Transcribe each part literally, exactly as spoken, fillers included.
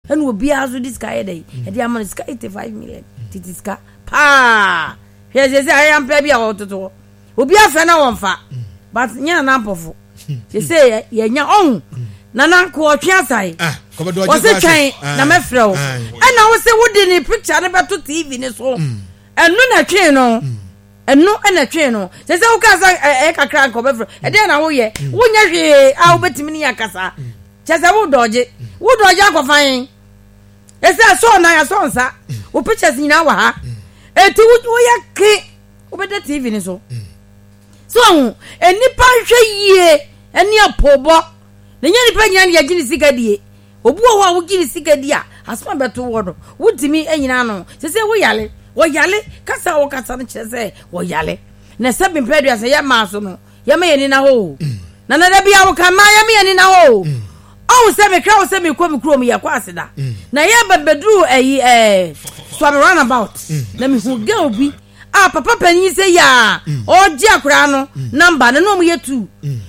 Ɛna obiara nso de sika yɛ dɛ ɛde ama no sika eighty five million tete sika paa. Hwɛ sɛ sɛ ayɛ bi a wɔtoto hɔ, obi afɛ na wɔmfa, but nyɛ Nana Mpɔfo sɛ sɛ yɛnya ɔhu Nana nko ɔtwe asae. Ah, kɔbɛdɔ ɔgye wɔse kɔ twɛn ase. Na mɛfrɛ wo. Ah. Ɛna wo sɛ wode ne picture no bɛto T V ne so, ɛno na ɛtwee no, ɛno ɛna ɛtwee no sɛ sɛ woka sɛ ɛ- ɛyɛ kakra nka ɔbɛfrɛ. Ɛdeɛ na woyɛ, wonyɛ hwee a wobɛtumi ne yɛ akasa kyɛ sɛ wodɔgye wodɔgye akɔfa ɛsɛ asɔ nan asɔ nsa, wo pictures nyinaa wɔ ha, eti wo- woyɛ ke wobɛda T V ne so so ɔho. Nnipa nhwɛ yie ɛne apɔbɔ na nyɛ nipa nyinaa ne yɛgye ne sika die. Obi wɔ hɔ a wogye ne sika di a, asoma bɛto wɔ no, wotumi anyina no sɛ sɛ woyale, wɔyale kasa a wɔkasa no kyerɛ sɛ wɔyale. Na sɛ bempɛ aduasa yɛ maa so no, yɛma yɛni na hɔ o. Na nada bia woka maa yɛma yɛni na hɔ o. Ɔhu sɛ mekra wo sɛ mekɔ me kurom, yɛkɔ aseda na yɛba bɛduru ayi ɛɛ Suame roundabout na mehu girl bi a papa panyin sɛ yɛ a ɔgye akwaraa no number no na ɔmo yɛ tu.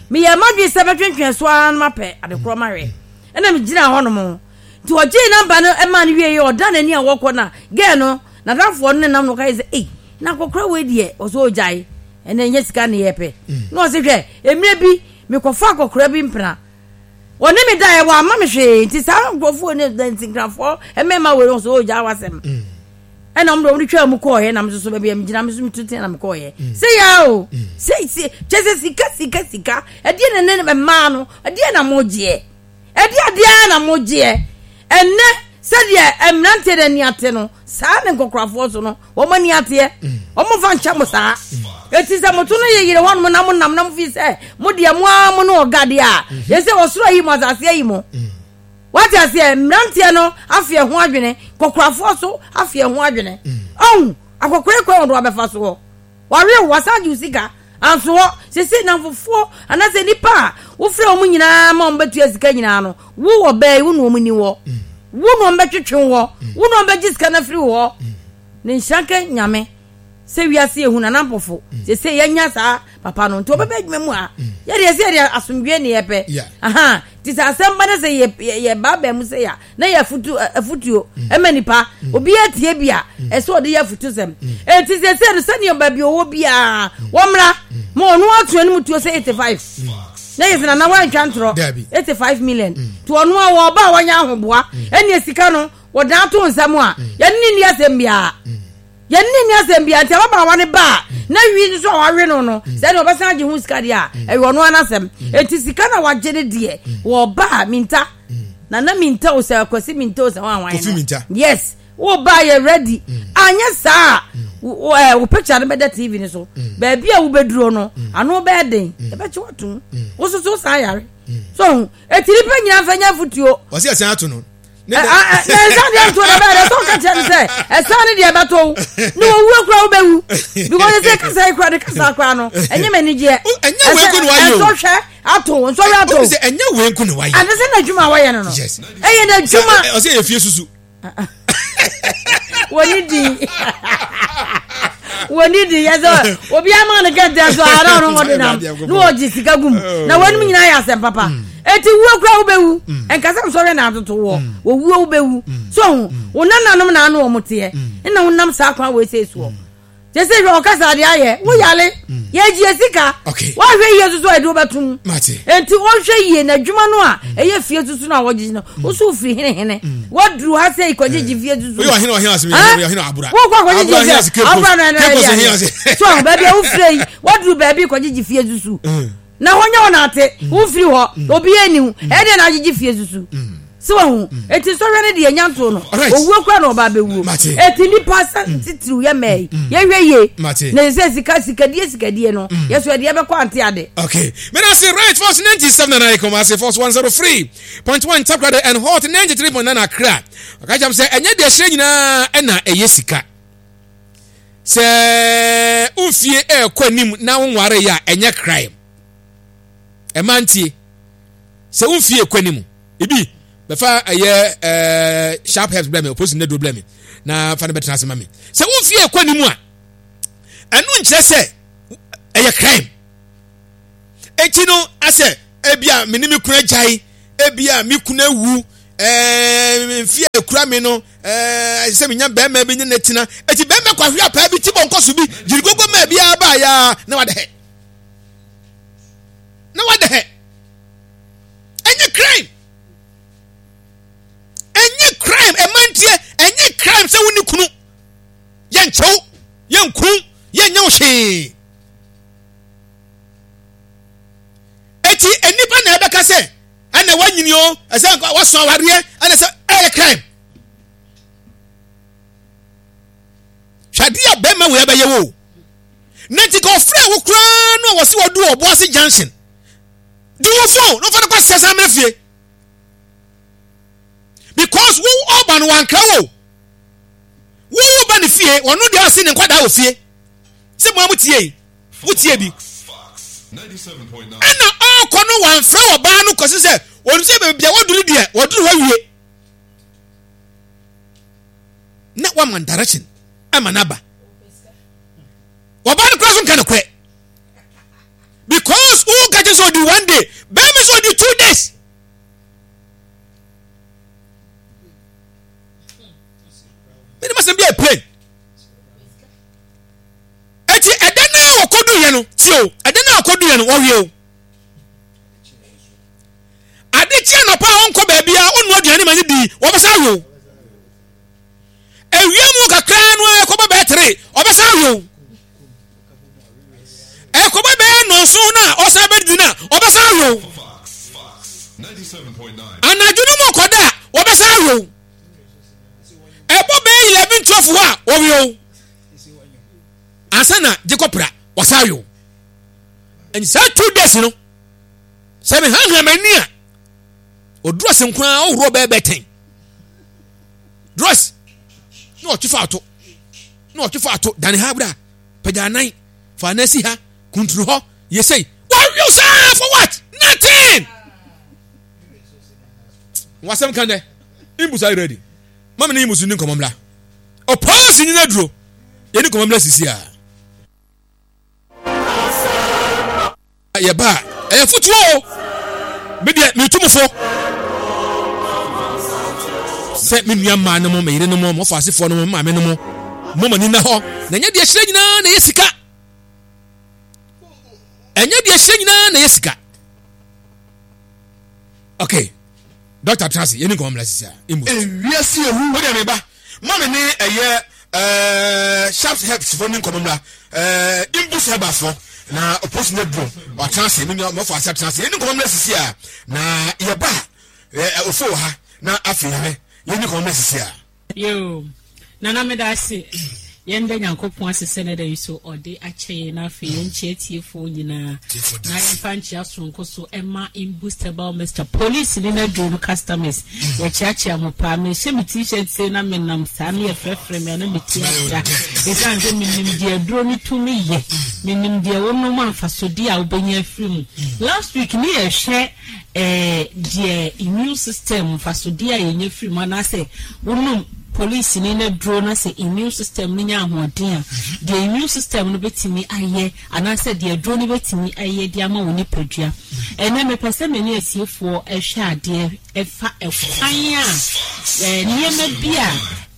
Meyɛ madwe sɛ bɛtwentwɛn so ara no mapɛ adekorɔ mahwɛ, ɛna megyina hɔ nom nti ɔgye number no ɛma no wie yɛ ɔda n'ani a wɔkɔ na girl no n'adamfoɔ no ne nam no ɔka yɛ sɛ, "Ei, na akɔkora wei deɛ, ɔsɛ ɔgyae ɛnɛ nyɛ sika ne yɛpɛ." Na ɔsɛ, "Hwɛ, mmerɛ bi mekɔfa akɔkora bi mpena, wɔne me daeɛ, wɔ ama me hwee." Nti saa nkurɔfoɔ ne ntinkrafoɔ mmarima wei no sɛ ɔgya wasɛm, ɛna ɔmo de ɔmo de twaa mu kɔɔyɛ nam soso baabi a megyina me so metu tea na mekɔɔyɛ sɛ yaa o sɛ sɛ kyɛ sɛ sika sika sika ɛdeɛ na ne mmaa no ɛdeɛ na mo gyeɛ, ɛdeɛ adeɛ na mo gyeɛ. Ɛnɛ sɛdeɛ mmeranteɛ no ani ate no saa ne nkɔkorafoɔ so no wɔn ani ateɛ, wɔn fa nkyɛn mo saa. Eti sɛ moto no yɛ yere hɔnom na mo nam na mo fi sɛ mo deɛ mo ara mo ne ɔga deɛ a yɛsɛ ɔsoro ayi mo, asase ayi mo. Wate aseɛ? Mmeranteɛ no afeɛ ho adwene, kɔkorafoɔ so afeɛ ho adwene. Ɔhu akɔkora kwan wɔde wabɛfa soɔ, wawe wasan gye wo sika anso hɔ sese namfofoɔ anaasɛ nipa a wofrɛ wɔn nyinaa ma wɔn bɛtua sika nyinaa no, wo wɔ bɛɛ wo na wɔn ni wɔ wo na wɔn bɛtwetwe wɔ wo na wɔn bɛgye sika no afiri wɔ hɔ. Ne nhyira nka Nyame sɛ wiase ehu Nana Mpɔfo sese yɛnya saa papa no nti ɔbɛbɛ adwuma mu a yɛde yɛsɛ yɛde asomdwe ne yɛpɛ. Yeah. Aha nti sɛ asɛm ba ne sɛ yɛ yɛ yɛ baabaa mu sɛ yɛ a na yɛ afutu ɛ, afutuo ɛma nipa obi atie bi a ɛsɛ ɔde yɛ afutu sɛm. Eti sɛ sɛ no sɛdeɛ baabi ɔwɔ biara wɔmmra ma ɔno ato anim tuo sɛ eighty five na yɛ sɛ Nana wantwa ntorɔ. Dabi. Eighty five million nti ɔno a wɔba a wɔnyɛ ahoboa ɛnea sika no wɔdan to nsɛm a yɛne ne nni asɛm biara, yɛne ne nni asɛm biara. Nti ababaawa no ba a na wi nso a wawe no no sɛdeɛ ɔbɛsan agye ho sika deɛ a ɛyɛ ɔno anasɛm. Enti sika na wagye no deɛ, wɔba a minta Nana minta o, sɛ Akwasi minta o, sɛ wɔn ahwan Kofi no. Minta. Yes, wo ba yɛ ready anyɛ saa a, wo ɛ wo picture no bɛda T V no so. Baabi a wobɛduro no ano bɛyɛ den, yɛbɛkye watom wo soso saa yare so. Eti nipa nyinaa fɛ nyɛ afutuo. Ɔsi ɛsɛn ato no. Ne na dɛ- nsa deɛ nto na bɛyɛ dɛ sɛ ɔka kyerɛ no sɛ ɛsan ne deɛ bɛtɔ wo ne wɔwuo kora wobɛwu, because ɛsɛ kasa yi kora ne kasa kora no ɛnyɛ m'ani gyeɛ. O, ɛnyɛ wei nko na wayɛ o. Ɛnsɔhwɛ ato, nsɔhwɛ ato. Ɔsi sɛ ɛnyɛ wei nko na wayɛ. Ade sɛ n'adwuma a wɔyɛ no no Yes. ɛyɛ n'adwuma. Sɛ- ɔsi ɛyɛ fie susu. Wɔni di wɔni di yɛ sɛ obi ama ne kɛntɛn so a na ɔno wɔde nam na wɔgye sika gum na wɔnum nyinaa yɛ asɛm papa. Eti wuo kura wobɛwu, nkasa nsɔhwɛ na atoto wɔ wɔwuo wobɛwu so ho wo nananom na ano wɔn teɛ ɛna wonam saa kwan wɔ ese soɔ kyɛ sɛ hwɛ ɔkasa adeɛ ayɛ woyale yɛgye sika. Okay. Woahwɛ yie soso a ɛde wobɛtom. Mate. Enti wɔhwɛ yie n'adwuma no a ɛyɛ fie susu no a wɔgyegye no, woso firi henehene waduru ha sɛ ikɔgyegye fie susu. Oyɛ ɔhene ɔhene ase mi Ah? oyɛ ɔhene abura. Wokɔ akɔgyegye Abura hene ase fie Cape Coast. abura no ɛno Cape Coast ɛyɛ hene adeɛ. ase. So baabi a wofiri yi, waduru baabi kɔgyegye fie susu na hɔ nyɛ wɔ n'ate wofiri hɔ obi ani wo ɛdeɛ na agyegye fie susu sɛ wahu. Eti nsɔhwɛ no deɛ nyanto no. Alright. Owuo kora na ɔba abɛwuo. Mate. Eti nipa sɛ titiriw yɛ mɛɛ yi, yɛhwɛ yie. Mate. Na sɛ sika sikadie sikadie no yɛsɔ ɛdeɛ bɛkɔ ante ade. Okay. Medase. Right, Force ninety-seven and I come as Force one oh three point one Takoradi and Hot ninety-three point nine Accra. Ɔka kyerɛ m sɛ ɛnyɛ deɛ ɛhyerɛ nyinaa ɛna ɛyɛ sika. Sɛ wofie ɛɛkɔ anim na wonware yɛ a, ɛnyɛ crime. Ɛma ntie. Sɛ wofie ɛkɔ anim, ebi bɛfa ɛyɛ ɛɛ sharp herbs blɛ me, opposite ne do blɛ me na fa no bɛtena ase ma me. Sɛ wofie ɛkɔ anim a, ɛno nkyerɛ sɛ ɛyɛ crime. Eti no asɛ ebia me ne me kunu agyae, ebia me kunu awu, ɛɛ mfie a ekura mi no ɛɛ sɛ menya bɛrima bi ne ne tena eti bɛrima kɔ ahwe apaa bi ti bɔ nkɔ so bi gyiri gogo mmaa bi aba ya na wada hɛ na wada hɛ. Ɛnyɛ crime, ɛnyɛ crime. Ɛmantie, ɛnyɛ crime sɛ wo ne kunu yɛnkyɛw, yɛnku, yɛnyɛ wo hwee. Eti nnipa na ɛbɛka sɛ ɛna wanyini o, ɛsɛ waso awareɛ, ɛna sɛ ɛyɛ crime. Hwɛde a bɛrima wei ɛbɛyɛ wo na nti ka ɔfrɛ wo koraa no a wɔsi wɔdu Ɔboase Junction di wo phone no fa no kɔ sɛ san mmerɛ fie, because wo ɔba no wankra wo, wo wo ba ne fie, ɔno deɛ ɔse ne nkwadaa wɔ fie sɛ mo a mo tie yi, mo tie bi ɛna ɔkɔ no wamfrɛ ɔbaa no kɔsi sɛ wɔn sɛ baabi a wɔduru deɛ wɔduru hɔ wie na wama direction ama n'aba. Ɔbaa no kora so nka no korɛ, because wo ka kyerɛ sɛ ɔdi one day, bɛrima sɛ ɔdi two days. Mene masɛm bi a plain. Eti ɛdɛ no a wɔkɔdu yɛ no tie o, ɛdɛ no a wɔkɔdu yɛ no wɔwie o. Ade kye anɔpa a ɔnkɔ baabi a ɔnnu aduane ma ne di, wɔbɛsa awe o. Ewia mu kakra no a ɛkɔbɔ bɛyɛ tere, ɔbɛsa awe o. Ɛkɔbɔ bɛyɛ nɔnso no a ɔsan bɛdidi no a ɔbɛsa awe o. Anadwo no mu ɔkɔda a wɔbɛsa awe o. Ɛbɔ bɛyɛ eleven twelve hɔ a wɔwe o. Ansa na gye kɔpra wɔsa awe o. Ɛnti saa two days no sɛ mehanhan m'ani a ɔduru ase nko ara ɔworɔ bɛyɛ bɛyɛ ten dress na ɔtwe fa ato na ɔtwe fa ato dane ha bra pagya anan fa anan si ha kuntunu hɔ yɛ sei wɔawe saa for what? Nothing. Wasɛm ka dɛ imbusa are you ready? Mama ne imbusu ni nkɔmɔ mmra ɔpɔɔsi nyina duro yɛni nkɔmɔ mmra sisi a yɛba a ɛyɛ fotuo o. Me deɛ metu mo fo sɛ me nua mmaa no mo, me yere no mo, mo afasefoɔ no mo, me maame no mo, mo ma ni na hɔ na ɛnyɛ deɛ hyerɛ nyinaa na ɛyɛ sika. Ɛnyɛ deɛ hyerɛ nyinaa na ɛyɛ sika. Okay, Doctor Trasi, yɛni nkɔmɔ mmra sisi a imu ewiase ehu. O deɛ meba ma me ne ɛyɛ ɛɛ sharp herbs fo ne nkɔmɔ mmra ɛɛ imbus herbs fo na oposi ne duro watena ase me nua mɔfo ase atena ase yɛni nkɔmɔ mmra sisi a na yɛba ɛɛ ofo wɔ ha na afei yɛhwɛ yɛni nkɔmɔ mmra sisi a. Yo, Nana meda ase. Yɛnda Nyankopɔn ase sɛ ne da yi so ɔde akyɛ yɛn na afei yɛnkyɛ atiefoɔ nyinaa na yɛmfa nkyea soronko so ɛma Imbustable Mister Police ne n'aduro no customers. Yɛkyeakyea mo paa. Mehyɛ me t-shirt sei na menam saa ne yɛfrɛfrɛ me a na me ti ada. Ɛsiane sɛ menim deɛ aduro no tumi yɛ. Menim deɛ wonom a mfasodeɛ a wobɛnya afiri mu. Last week ne yɛhwɛ eh, deɛ immune system mfasodeɛ a yɛnya firi mu anaasɛ wonom polisi ni na duro na sɛ immune system no nya ahoɔden a, deɛ immune system no bɛtumi ayɛ anaasɛ deɛ duro no bɛtumi ayɛ de ama wo nipadua. Ɛnɛ mepɛ sɛ me ne atiefoɔ ɛhwɛ adeɛ ɛfa ɛkwan a eh, nneɛma bi a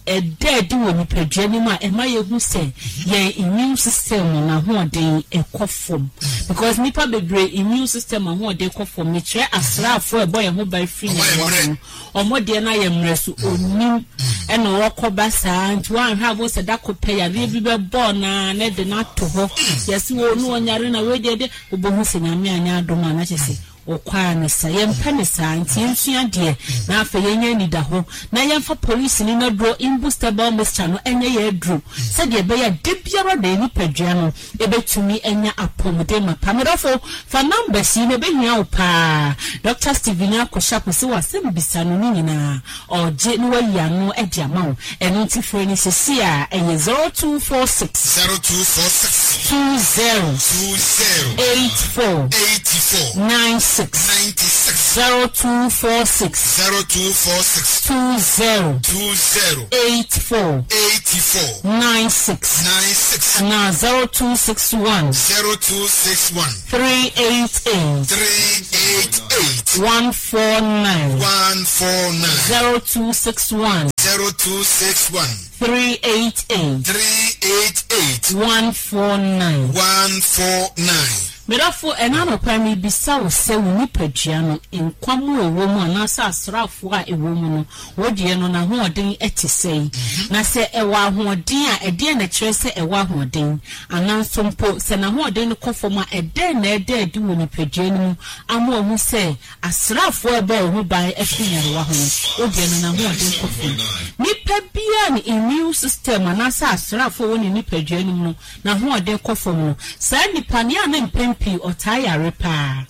ɛda adi wɔ nipadua no mu a ɛma yɛhu sɛ yɛn immune system no n'ahoɔden ɛkɔ fam, because nipa bebree immune system ahoɔden kɔ fam. Mekyerɛ asraafoɔ a ɛbɔ yɛn ho ban firi nyarewa ho no, ɔmo deɛ no ayɛ mmerɛ so onim ɛna ɔkɔba saa nti wɔanhwɛ abo sɛ dako pɛ yareɛ bi bɛbɔɔ naa na ɛde no ato hɔ yɛsi wɔ no ɔnyare na wei deɛ de wobɛhu sɛ Nyame anyɛ adom a na kyerɛ sɛ ɔkwaa ne sa. Yɛmpɛ ne saa nti yɛnsua deɛ na afei yɛnyɛ anida hɔ na yɛmfa polisi ne n'aduro imbustable mixture no ɛnyɛ yɛ aduro sɛdeɛ ɛbɛyɛ a da biara da yɛ nipadua no ɛbɛtumi anya apɔmuden mapa. Medɔfo, fa numbers yi na ɛbɛhia wo paa. Doctor Stephen Akosha sɛ wasɛm bisa no ne nyinaa ɔgye na wayi ano de ama wo. Ɛno nti frɛ no sisi a ɛyɛ zero two four six zero two four six two zero two zero eight four eighty four nine six. six ninety six zero two four six zero two four six two zero two zero eight four eighty four nine six nine six anaa zero two six one zero two six one three eight eight three eight eight one four nine one four nine zero two six one zero two six one three eight eight three eight eight one four nine. one four nine. Medafo, ɛna anɔpa mebisa wo sɛ wo nipadua no nkwa mu a ɛwɔ mu anaasɛ asraafoɔ a ɛwɔ mu no, wodeɛ no n'ahoɔden te sɛn? Na sɛ ɛwɔ ahoɔden a, ɛdeɛn na ɛkyerɛ sɛ ɛwɔ ahoɔden? Anaa nso mpo sɛ n'ahoɔden no kɔ fam a, ɛdɛn na ɛda adi wɔ nipadua no mu ama wahu sɛ asraafoɔ a ɛbɔ wo ho ban firi nyarewa ho no, wodeɛ no n'ahoɔden kɔ fam? Nipa biara ne immune system anaasɛ asraafoɔ a ɛwɔ ne nipadua no mu no n'ahoɔden kɔ fam no, saa nipa no, yɛ a na mpɛn pii ɔtaa yare paa.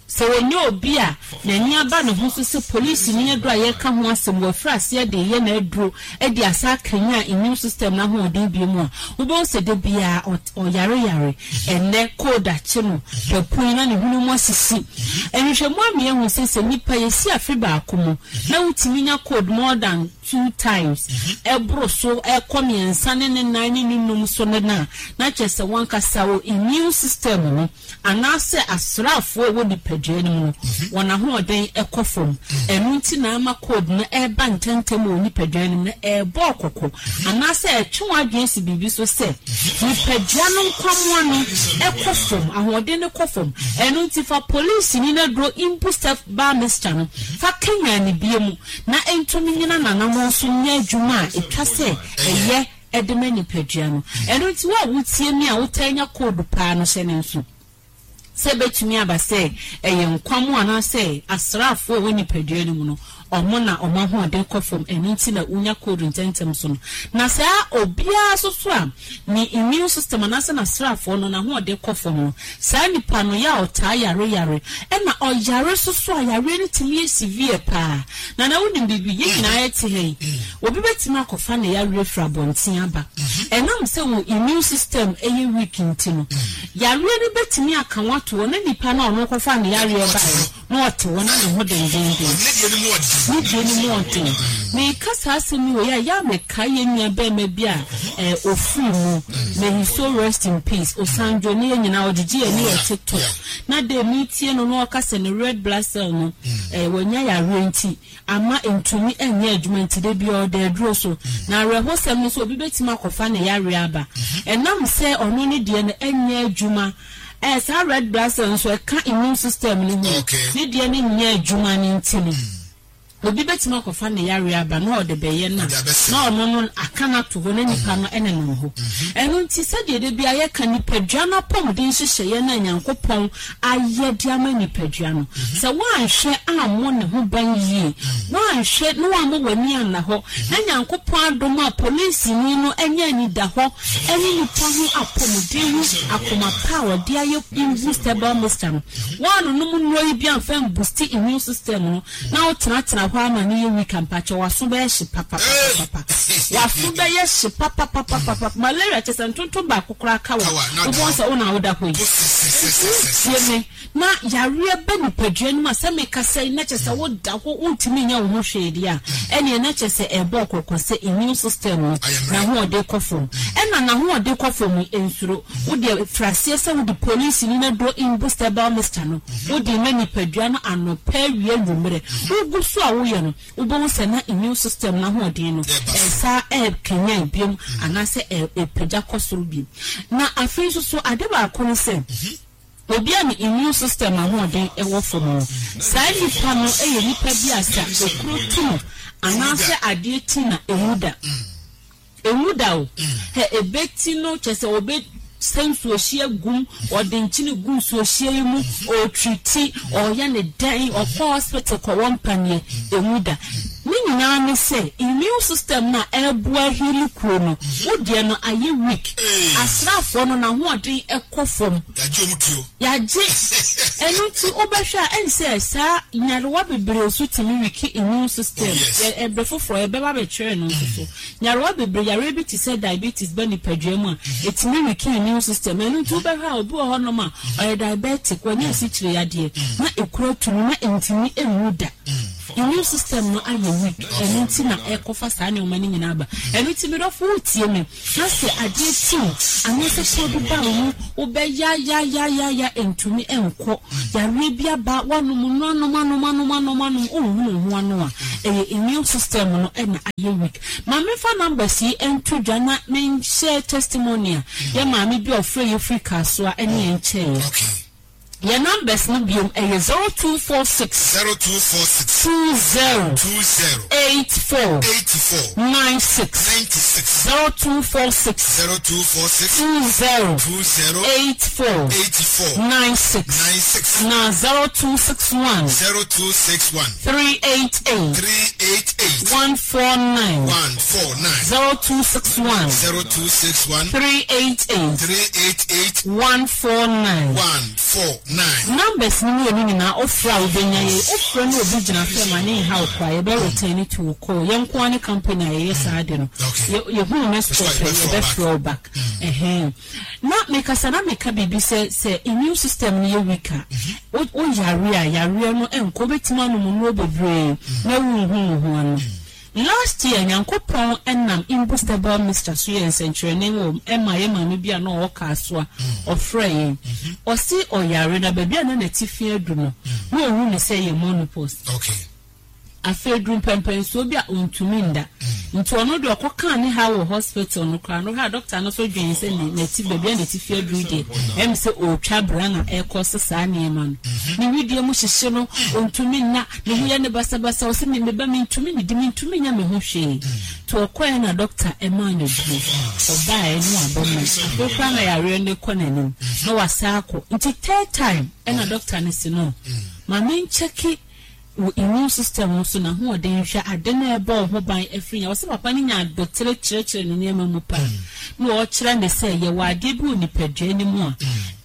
Sɛ wɔnyɛ obi a n'ani aba ne ho so sɛ polisini aduro a yɛreka ho asɛm, wafiri aseɛ de reyɛ n'aduro de asa akanyan immune system no ahoɔden bio mu a, wobɛhu sɛ da biara ɔyareyare. Ɛnnɛ, cold akye no, wapue na ne hwene mu asisi. Nhwehwɛmu ama yɛahu sɛ, sɛ nnipa yɛsi afe baako mu na wotumi nya cold more than two times, ɛboro so ɛkɔ mmiɛnsa ne ne nan ne ne num so no a, na kyerɛ sɛ wankasa wo immune system no anaasɛ asraafoɔ a ɛwɔ nipadua no mu no, wɔn ahoɔden kɔ fam. Ɛno nti na ama cold no ɛreba ntɛmntɛm wɔ nipadua no mu no, ɛrebɔ kɔkɔ anaasɛ ɛtwe w'adwene si biribi so sɛ nipadua no nkwammoa no ɛkɔ fam, ahoɔden no kɔ fam. Ɛno nti fa polisini no aduro Imbustef Bar Mixture no fa kanyan ne bie mu na ɛntumi nyina n'anammɔn so nyɛ adwuma a ɛtwa sɛ ɛyɛ ɛde ma nipadua no. Ɛno nti wo a wotie me a wotaa nya cold paa no, hyɛ ne nso sɛ ɛbɛtumi aba sɛ ɛyɛ nkwam anaasɛ asraafoɔ a ɛwɔ nipadua no mu no, ɔmo na ɔmo ahoɔden kɔ fam, ɛno nti na wonya cold ntɛntɛm so no. Na saa obiara nso so a ne immune system anaasɛ n'asraafoɔ no n'ahoɔden kɔ fam no, saa nipa no yɛ a ɔtaa yare yare, ɛna ɔyare nso so a yareɛ no tumi yɛ severe paa. Na na wonim biribi, yɛn nyinaa yɛte ha yi, obi bɛtumi akɔfa ne yareɛ firi abɔnten aba. Ɛnam sɛ wo immune system ɛyɛ weak nti no, yareɛ no bɛtumi aka wo ato hɔ na nipa no a ɔno kɔfa ne yareɛ baeɛ no na ɔte hɔ na ne ho dendenden. Ne deɛ no mu ɔden. Meka saa asɛm yi wɔ yɛ a, yɛ a mekae yɛn nua bɛrima bi a eh, ofiri mu. May his soul rest in peace. Osanjo ne yɛn nyinaa ɔgyegye yɛn ne yɛ TikTok. Na de metie no na ɔka sɛ ne red blood cell no eh, wanya yareɛ nti ama ntumi nyɛ adwuma nti de bi ɔda aduro so. Na awerɛhosɛm no sɛ obi bɛtumi akɔfa ne yareɛ aba. Ɛnam sɛ ɔno ne deɛ no nyɛ adwuma, eh, saa red blood cell nso ɛka immune system no ho. Ne deɛ no nyɛ adwuma no nti no, obi bɛtumi akɔfa ne yareɛ aba na ɔde bɛyɛ no na ɔno no aka no ato hɔ na nipa no nenam hɔ. Ɛno nti sɛdeɛ da bi a yɛka nipadua no apɔmuden nhyehyɛeɛ no a Nyankopɔn ayɛ de ama nipadua no, sɛ woanhwɛ ammɔ ne ho ban yie, woanhwɛ na woammɔ w'ani anna hɔ, na Nyankopɔn adom a polisini no anya anidahɔ ne nipa ho apɔmuden ho akoma pa a ɔde ayɛ imbustable mixture no, woanonom nnuro yi bi amfa mbusti immune system no na wotenatena hɔ ama no yɛ weak, mpakyɛ w'aso bɛyɛ hye papapapapa, w'aso bɛyɛ hye papapapapa. Malaria kyɛ sɛ ntontom baako koraa ka wɔ wobɛhu sɛ wo na woda hɔ yi. Nti wotie me na yareɛ ba nipadua no mu a, sɛ mekasa yi na kyɛ sɛ woda hɔ wontumi nyɛ wo ho hwee deɛ a, ɛneɛ na kyɛ sɛ ɛbɔ kɔkɔ sɛ immune system no n'ahoɔden kɔ fam. Ɛna n'ahoɔden kɔ fam yi, nsuro wodeɛ firi aseɛ sɛ wode polisini no aduro imbustable mixture no wode ma nipadua no anɔpa, awia, anwummerɛ. Wogu so a woyɛ no, wobɛhu sɛ na immune system no ahoɔden no ɛsa ɛkanyan biom anaasɛ ɛpagya kɔ soro biom. Na afei nso so ade baako no sɛ obi a ne immune system ahoɔden ɛwɔ fam no, saa nipa no yɛ nipa bi a sɛ okuro tu no anaasɛ adeɛ ti na emu da emu da o, hɛ ebeti no kyɛ sɛ obe sɛ nsuohyia gum, ɔde nkyene gu nsuohyia yi mu, ɔretriti, ɔreyɛ ne dɛn, ɔkɔ hospital kɔwɔ mpaneɛ, emu da. Ne nyinaa ne sɛ immune system na ɛboa heal kuro no, wo deɛ no ayɛ weak. Asraafoɔ no n'ahoɔden ɛkɔ fam. Yagye ɔmo tuo. Yagye. Ɛno nti wobɛhwɛ a, ɛne sɛ saa nyarewa bebree nso tumi weak immune system. Oh, yes. Yɛ ɛbrɛ foforɔ yɛbɛba bɛkyerɛ no nso so. Nyarewa bebree, yareɛ bi te sɛ diabetes ba nipadua mu a, ɛtumi weak immune system. Ɛno nti wobɛhwɛ a, obi wɔ hɔnom a ɔyɛ diabetic, wɔnyɛ asikyire yadeɛ na ekura tumi na ntumi nwu da. Immune system no ayɛ weak. Ɛno nti na ɛkɔfa saa nneɛma no nyinaa ba. Ɛno nti, medɔfo, wotie me na sɛ adeɛ tiw anaasɛ kuro bi ba wo ho, wobɛyayayayaya, ntumi nkɔ, yareɛ bi aba, woanom no, anom anom anom anom anom, wonhunu ho ano a, ɛyɛ immune system no ɛna ayɛ weak. Ma memfa numbers yi nto dwa na menhyɛ testimony a yɛ maame bi a ɔfrɛ yɛ firi Kasoa ɛne yɛn kyɛeɛ. Okay. Yɛ numbers no biom ɛyɛ zero two four six zero two four six two zero two zero eight four eighty four nine six. ninety six. zero two four six zero two four six two zero two zero eight four eighty four nine six. nine six. Na zero two six one zero two six one three eight eight three eight eight one four nine. one four nine. zero two six one zero two six one three eight eight three eight eight one four nine. one four nine. Numbers no mmienu nyinaa, wofrɛ a wobɛnya yɛ. Wofrɛ no, obi gyina fɛ ma ne nha wo koraa, yɛbɛ return to wo call. Yɛn nko ara ne company a yɛyɛ saa de no. Okay. Yɛ- yɛhunu missed call pɛ, Yɛbɛfrɛ wo. yɛbɛfrɛ wo back. Ɛhɛn, na mekasa na meka biribi sɛ sɛ immune system no yɛ weak a, wo wo yare a, yareɛ no nkɔ. Wobɛtumi anom nnuro bebree na wonhu wo ho ano. Last year, Nyankopɔn ɛnam imbustable mixture so yɛ nsɛnkyerɛnne wɔ ɛma yɛ maame bi a na ɔwɔ kaa so a ɔfrɛ yɛn. Ɔsi ɔyare na baabi a na n'atifi adu no, na ohu ne sɛ yɛ menopause. Okay. Afei duru mpɛmpɛnsuo bi a ɔntumi nda, nti ɔno deɛ ɔkɔkaa ne ha wɔ hospital no koraa no ha, doctor no so dwen sɛ ne n'ati baabi a n'atifi aduru deɛ, ɛm sɛ ɔretwa bra na ɛrekɔ so saa nneɛma no. Ne widie mu hyehye no, ɔntumi nna, ne ho yɛ ne basabasa. Ɔsɛ me meba, mentumi ne di, mentumi nya me ho hwee. Nti ɔkɔɛ na doctor ɛmaa no duro. Ɔbaeɛ no, wabɛma afei koraa na yareɛ no kɔ n'anim na wasa akɔ. Nti third time ɛna doctor no si no, maame nkyɛke wo immune system no so na hoɔden, hwɛ ade na ɛbɔ wo ho ban afiri nya. Wɔsɛ papa no nya abotire kyerɛkyerɛ ne nneɛma mu paa na ɔkyerɛ ne sɛ yɛwɔ adeɛ bi wɔ nipadua no mu a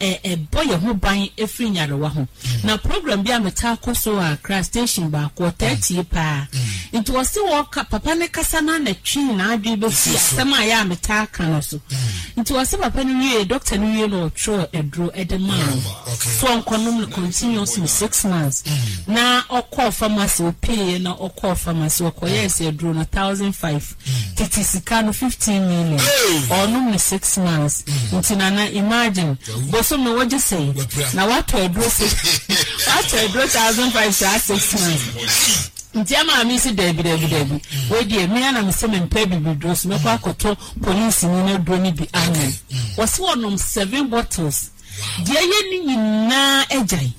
ɛ ɛbɔ yɛn ho ban afiri nyarewa ho. Na program bi a metaa kɔ so wɔ Accra, station baako, ɔtaa tie paa. Nti wɔsi wɔka papa ne kasa na n'atwi n'adwene bɛsi asɛm a yɛ a metaa ka no so. Nti wɔsi papa no wie, doctor no wie na ɔtwerɛ aduro ɛde maa no so ɔnkɔnom no continuously six months. Na ɔkɔɔ pharmacy, opieɛ na ɔkɔɔ pharmacy, ɔkɔyɛɛ sɛ aduro no thousand five, tete sika no fifteen million. Ɔnom no six months. Nti Nana, imagine, bosom no wɔgye sɛn na watɔ aduro six, watɔ aduro thousand five saa six months? Nti ama mi si daabi, daabi, daabi, wei deɛ mi anam sɛ mi mpɛ bibiduro so, mɛkɔ akɔtɔ polisi ni na aduro ni bi anom. Wɔsi wɔnom seven bottles, deɛ ɛyɛ ne nyinaa agyae.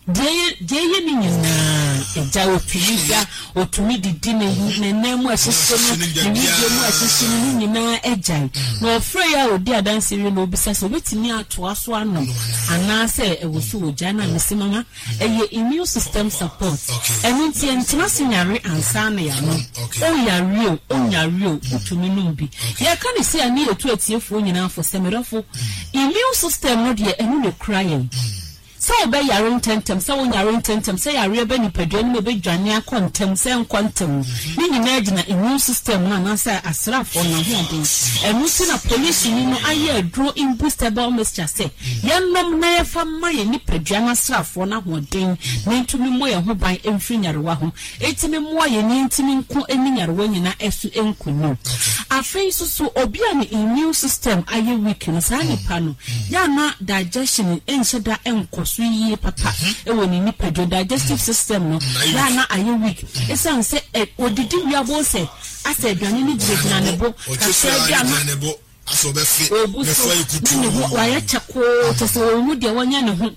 Deɛ ɛyɛ deɛ ɛyɛ ne nyinaa agyae. Otumi da, otumi didi, ne ne nan mu ɛhyehyɛ no, ne widie mu ɛhyehyɛ no, ne nyinaa agyae. Na ɔfrɛ yi a odi adanse wie na obisa sɛ obetumi atoa so anom anaasɛ ɛwɔ so wɔ gya. Na mesi mama, ɛyɛ immune system support. Ɛno nti ɛntena se nyare ansa na yɛanom. Ɔyare o, ɔnyare o, wotumi nom bi. Yɛka ne sɛ ɛne yɛtu atiefoɔ nyinaa fo sɛ, medɔfo, immune system no deɛ, ɛno na kura yɛn sɛ wobɛyare ntɛntɛm, sɛ wonyare ntɛntɛm, sɛ yareɛ bɛ nipadua no mu ɛbɛdwane akɔ ntɛm, sɛ nkɔ ntɛm, ne nyinaa gyina immune system no anaasɛ asraafoɔ no ahoɔden. Ɛno nti na polisini no ayɛ aduro imbustable mixture sɛ yɛnom na yɛfa ma yɛ nipadua no asraafoɔ no ahoɔden na ntumi mmɔ yɛn ho ban mfiri nyarewa ho, ɛtumi mmoa yɛn ni ntumi nko ne nyarewa nyinaa ɛso nkonim. Afei nso so, obi a ne immune system ayɛ weak no, saa nipa no yɛana digestion nhyɛ da nkɔ so yie papa ɛwɔ ne nipadua. Digestive system no yɛana ayɛ weak, ɛsiane sɛ ɛ odidi wiabo sɛ asɛ aduane no gyinagyina ne bo kakra bi a na ogu so ne ne ho wayɛ kyɛkoo, kyɛ sɛ wɔn mu deɛ wɔnyɛ ne ho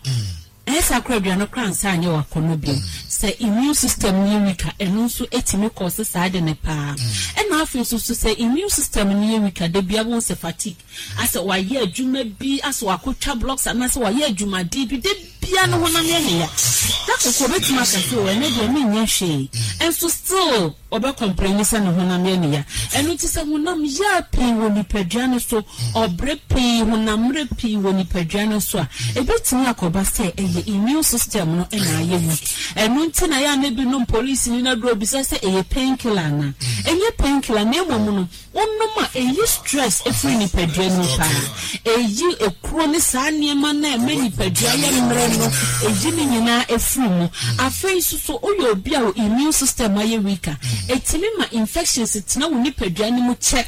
ɛyɛ saa kora, aduane kora nsa anyɛ wakɔnɔ bio. Sɛ immune system no yɛ weak a, ɛno nso etumi kɔ so saa de ne paa. Ɛna afei nso so, sɛ immune system no yɛ weak a, da bia wɔn sɛ fatigue, asɛ wayɛ adwuma bi, asɛ wakɔtwa blocks anaasɛ wayɛ adwumaden bi da. Obiara ne honam yɛ ne ya. Da koro obetumi aka sɛ, "O, ɛnnɛ deɛ menyɛ hwee." Nso still ɔbɛ complaini sɛ ne honam yɛ ne ya. Ɛno nti sɛ honam ya pii wɔ nipadua no so, ɔbrɛ pii, honam mmerɛ pii wɔ nipadua no so a, ebetumi akɔba sɛ ɛyɛ immune system no na ayɛ weak. Ɛno nti na ɛyɛ a na ebinom polisini no aduro bisa sɛ ɛyɛ painkiller anaa. Ɛnyɛ painkiller na mmom no, Wonom a, ɛyi stress firi nipadua no mu paa. Ɛyi ekuro ne saa nneɛma no a ɛma nipadua yɛ mmerɛ no, ɛyi ne nyinaa firi mu. Afei nso so woyɛ obi a wo immune system ayɛ weak a, ɛtumi ma infections tena wo nipadua no mu kyɛ.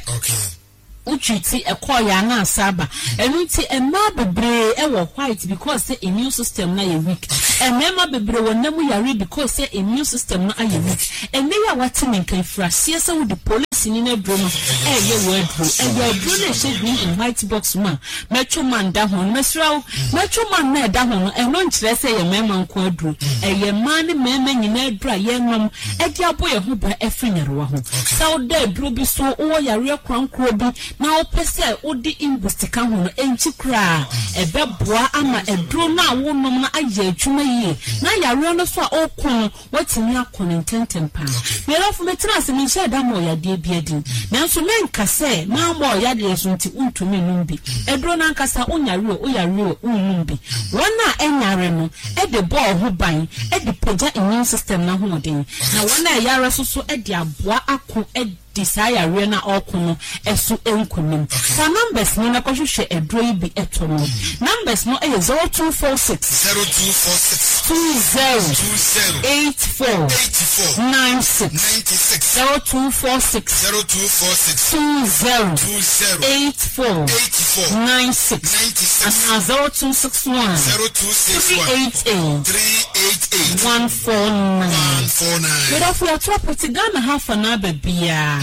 Wo treat ɛkɔɔeɛ a na asa aba. Ɛno nti mmaa bebree wɔ white because sɛ immune system no ayɛ weak. Mmarima bebree wɔ nna mu yareɛ because sɛ immune system no ayɛ weak. Ɛnnɛ yi a woate me nka yi, firi aseɛ sɛ wode polisini no aduro no reyɛ w'aduro. Ɛyɛ aduro no a ɛhyɛ green and white box mu a Metro Man da ho no. Mesrɛ wo, Metro Man no a ɛda ho no, ɛno nkyerɛ sɛ ɛyɛ mmarima nko aduro. Ɛyɛ mmaa ne mmarima nyinaa aduro a yɛnom de abɔ yɛn ho ban afiri nyarewa ho. Sɛ woda aduro bi so, wowɔ yareɛ korankorɔ bi na wopɛ sɛ wode Imboost ka ho no, ɛnkyi koraa. Ɛbɛboa ama aduro no a wonom no ayɛ adwuma yie na yareɛ no nso a woko no, Woatumi ako no ntɛmntɛm paa. Me dɔfo, metenaa ase, menhyɛɛ da mmɔɔ yadeɛ biara din. Nanso menka sɛ mammɔ ɔyadeɛ so nti wontumi nnom bi. Aduro no ankasa, wonyare o, woyare o, wonnom bi. Wɔn a ɛnyare no de bɔ wo ho ban de pagya immune system no ahoɔden, na wɔn a ɛyare nso so de aboa ako di saa yareɛ no a ɔreko no so nkunim. Fa numbers no na kɔhwehwɛ aduro yi bi tɔ no. Numbers no yɛ zero two four six. Zero two four six. Two zero. Two zero. Eight four. Eighty four. Nine six. Ninety six. Zero two four six. Zero two four six. Two zero. Two zero. Eight four. Eighty four. Nine six. Ninety six. Anaa zero two six one. Zero two six Three one. eight eight. Three eight eight. One four nine. One four nine. Medɔfo yɛato apete Ghana ha afa no aba biara.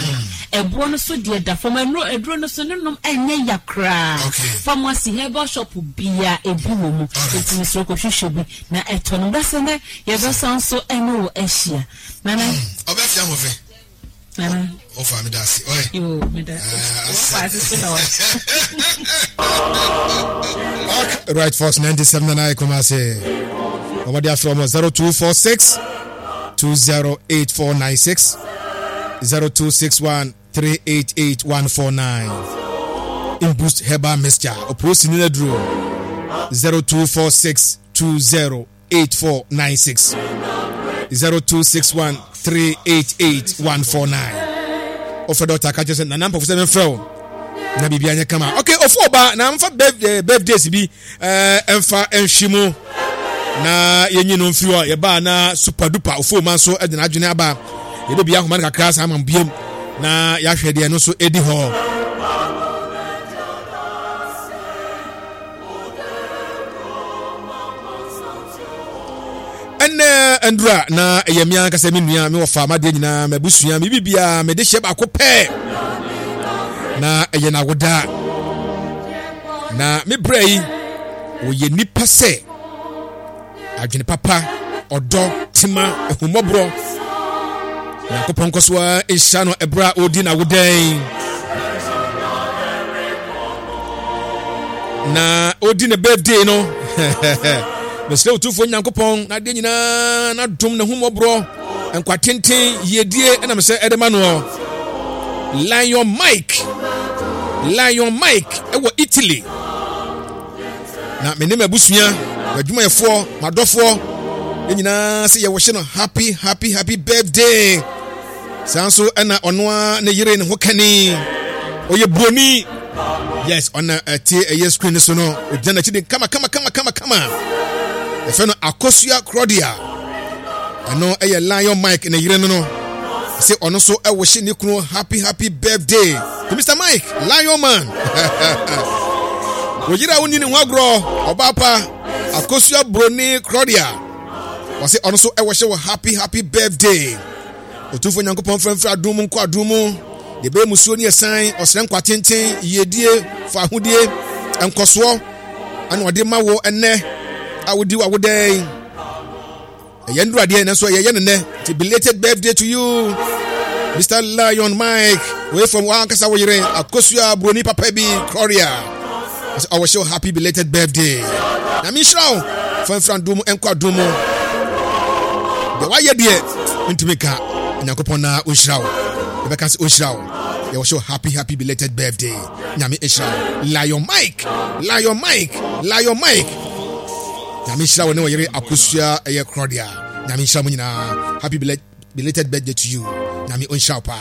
Ɛboɔ no so deɛ da fam. Ɛno aduro no so ne nom ɛnyɛ ya koraa. Okay. Pharmacy herbal shop biara ebi wɔ mu. Enti mesrɛ kɔhwehwɛ bi na ɛtɔ no. Dasɛ nɛ yɛbɛsan so ɛne wo ahyia. Nana. Ɔbɛfia ahoɔfɛ. Nana. Ɔfa meda ase. Ɔyɛ. Yoo meda. Wɔfa ase so na wa. Right Force ninety seven and I Kumasi. Ọmọdé afẹ́ ọmọ zero two four six two zero eight four nine six zero two six one three eight eight one four nine. Imboost Herbal Mixture. Opuosi ní Neduro zero two four six two zero eight four nine six zero two six one three eight eight one four nine. Ɔfɛ dɔkta ka kyerɛ sɛ nana mpɔfo sɛ mefrɛ wo na biribi anyɛ kama. Okay, ɔfo ɔba na mfa eh, birthdays bi ɛmfa eh, nhwi mu na yɛnyi no mfiri hɔ. Yɛbaa na super duper ɔfo ma nso de n'adwene aba. Yɛbɛbi ahoma no kakra saa ma biam na yɛahwɛ deɛ no nso ɛdi hɔ. Ɛnɛ ndura na ɛyɛ me ankasa me nua me wɔfa m'adeɛ nyinaa m'abusua me biribiara mede hyɛ baako pɛ na ɛyɛ n'awoda na me brɛ yi wɔyɛ nipa sɛ adwene papa ɔdɔ tema ahummɔborɔ Nyankopɔn nkɔ so ara nhyira no ɛberɛ a ɔredi n'awodan na ɔredi ne birthday no. Mesrɛ Otumfoɔ Nyankopɔn n'adeɛ nyinaa n'adom n'ahummɔborɔ nkwa tenten yiedie ɛna mesɛ ɛde ma noɔ. Lion Mike, Lion Mike ɛwɔ Italy. Na me ne m'abusua, m'adwumayɛfoɔ, m'adɔfoɔ, yɛn nyinaa sɛ yɛwɔhyɛ no happy happy happy birthday. Saa nso ɛna ɔno ara ne yere ne ho kani, ɔyɛ buroni. Yes, ɔna ɛte ɛyɛ screen so no, ɔgyina n'akyi de kama kama kama kama kama. Yɛfrɛ no Akosua Claudia. Ɛno ɛyɛ Lion Mike ne yere no no. Sɛ ɔno nso ɛwɔhyɛ ne kunu happy happy birthday to Mister Mike Lion Man. Wɔyere a wonni ne ho agorɔ, ɔbaa pa Akosua Broni Claudia. Wɔsɛ ɔno nso ɛwɔhyɛ wɔ happy happy birthday. Otumfoɔ Nyankopɔn mfrɛmfrɛ adom mu nkɔ adom mu. Deɛ ɛbɛyɛ musuo ne ɛsan, ɔsrɛ nkwa tenten, yiedie, fahodie, nkɔsoɔ, ɛna ɔde ma wo ɛnɛ a wodi w'awodan yi. Ɛyɛ nduru adeɛ nanso ɛyɛ yɛ no nɛ. Nti belated birthday to you, Mister Lion Mike. Wei from wankasa wo yere Akosua Broni papa bi Gloria. Ɔwɔ hyɛ happy belated birthday. Nyame nhyira wo. Fa mfiri adom mu nkɔ adom mu. Deɛ wayɛ deɛ mentumi nka. Onyankopɔn na ɔnhyira wo. Yɛbɛka sɛ ɔnhyira wo. Yɛwɔ so happy happy belated birthday. Nyame nhyira wo. Lion Mike, Lion Mike, Lion Mike. Nyame nhyira wo ne ɔyere Akosua ɛyɛ Claudia. Nyame nhyira mo nyinaa. Happy belated birthday to you. Nyame ɔnhyira wo paa.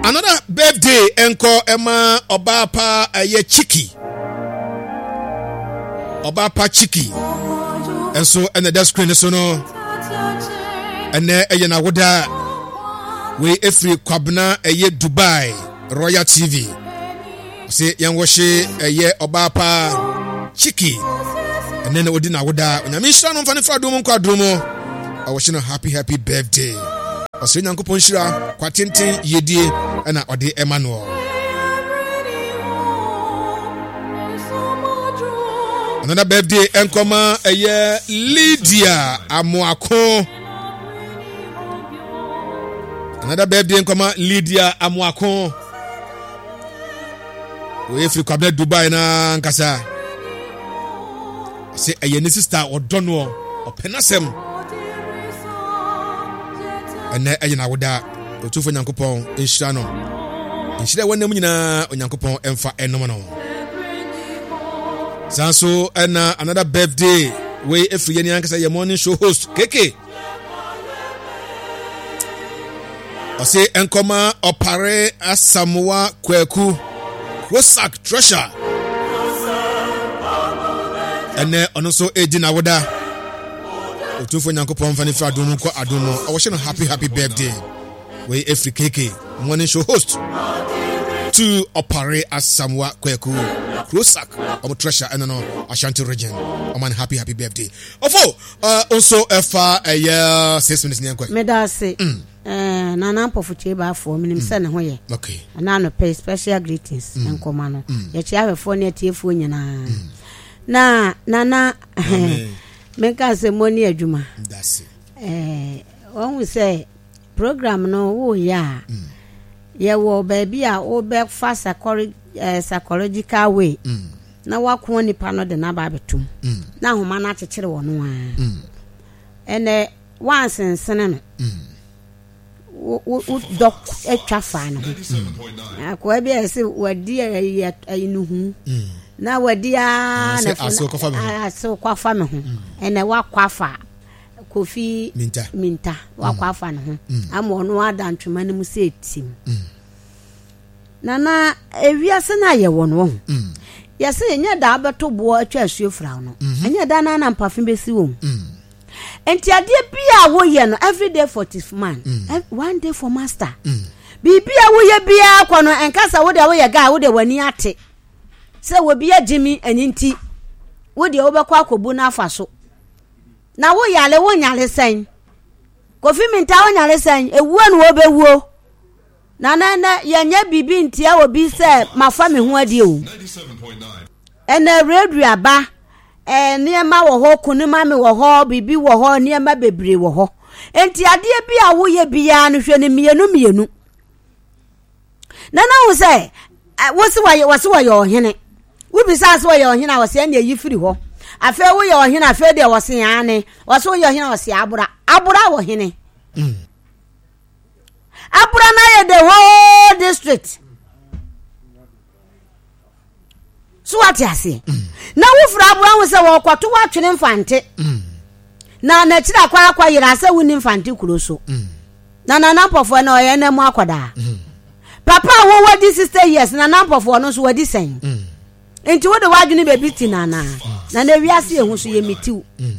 Another birthday ɛnkɔ ɛma ɔbaa pa ɛyɛ Chiki. Ɔbaa pa Chiki. Ɛnso ɛna ɛda screen so no. Ɛnɛ ɛyɛ n'awoda. Wei efiri Kwabena ɛyɛ Dubai Royal T V. Ɔsɛ yɛn wɔhye ɛyɛ ɔbaa pa Chiki. Ɛnɛ na odi n'awoda. Onyame nhyira no mfa ne fa adom nkɔ adom mu. Ɔwɔhye no happy happy birthday. Ɔsɛ Nyankopɔn nhyira kwatenten yiedie ɛna ɔde ɛma no. Another birthday ɛnkɔma ɛyɛ Lydia Amoako. Another birthday nkɔma Lydia Amoako. Wɔyɛ firi Kwabena Dubai na nkasa. Ɔsɛ ɛyɛ ne sister ɔdɔ noɔ ɔpɛ n'asɛm. Ɛnɛ ɛyɛ n'awoda. Otumfoɔ Nyankopɔn nhyira no. Nhyira ɛwɔ nam nyinaa Onyankopɔn ɛmfa ɛnom no. Saa nso ɛna another birthday wei efiri yɛn ankasa yɛ morning show host Keke. Ɔse nkɔma Ɔpare Asamoa Kwaku Krosak Treasure. Ɛnɛ ɔno nso edi n'awoda. Otumfoɔ Nyankopɔn mfa ne firi adom mu nkɔ adom mu. Ɔwɔhyɛ no happy happy birthday. Wei efiri Keke morning show host to Ɔpare Asamoa Kwaku Krosak ɔmo treasure ɛno no Ashanti region. Ɔman happy happy birthday. Ɔfo nso ɛfa ɛyɛ six minutes ní ɛnkɔ. Meda ase. Eh, Nana Mpɔfo Kyei Baafoɔ, menim sɛ ne ho yɛ. Okay. Ɛna anɔpɛ special greetings mm. nkɔma no. Mm. Yɛkyia ahwɛfoɔ ne atiefoɔ nyinaa. Mm. Na Nana, menka sɛ mo ne adwuma. Eh, wɔn sɛ program no woyɛ a, yɛwɔ baabi a wobɛfa eh, psychological way. Mm. Na wakoa nipa no de n'aba abɛtum. Mm. Na ahoma no akyekyere wɔ no ara. Mm. Ɛnɛ wansensene no. Mm. Wo wo dɔ atwa fa ne ho. Akoa bi a yɛsɛ wadi ayi ayi no hu. Na wadi aa na fo asew kɔfa me ho. Ɛnɛ wakɔ afa Kofi Minta. Minta wakɔ afa ne ho. Ama ɔno ada ntwema no mu sɛ etim. Nana ewiase no a yɛwɔ no wɔ ho. Yɛsɛ ɛnyɛ da abɛto boɔ atwa asuo fra no. Ɛnyɛ da na na mpafe bɛsi wɔm. Nti adeɛ bi a woyɛ no every day for this man, mm. one day for master. Mm. Biribi a woyɛ biara kɔ no ɛnka sɛ wode woyɛ guy wode w'ani ate sɛ obi agye mi ɛne nti wodeɛ wobɛkɔ akɔbu no afa so. Na woyale wonyale sɛn? Kofi Minta wonyale sɛn? Ewuo na wɔbɛwuo. Na na ɛnɛ yɛnyɛ biribi ntia obi sɛ mafa me ho adi o. Ɛnɛ radio aba, ɛɛ nneɛma wɔ hɔ, kunima me wɔ hɔ, biribi wɔ hɔ, nneɛma bebree wɔ hɔ. Nti adeɛ bi a woyɛ biara no hwɛ no mmienu mmienu. Na na wo sɛ wosi wɔyɛ wɔsi wɔyɛ ɔhene. Wobisa sɛ wɔyɛ ɔhene a wɔsi ɛna eyi firi hɔ. Afei woyɛ ɔhene afei deɛ wɔsi ane. Wɔsi woyɛ ɔhene a wɔsi abora. Abora wɔ hene. Mm. Abura no ayɛ the whole district. So wate aseɛ? Mm. Na wofiri abura ho sɛ wɔkɔto woatwene Mfante. Mm. Na n'akyiri akɔ akɔ yera sɛ wonni Mfante kuro so. Mm. Na Nana Mpɔfoɔ na ɔyɛ na mu akɔdaa. Mm. Papa a wowɔ di sixty years Nana Mpɔfoɔ no nso wadi sɛn. Mm. Nti wode w'adwene baabi ti nana. Mm. Na na ewiase ehu so yɛ mitiw. Mm.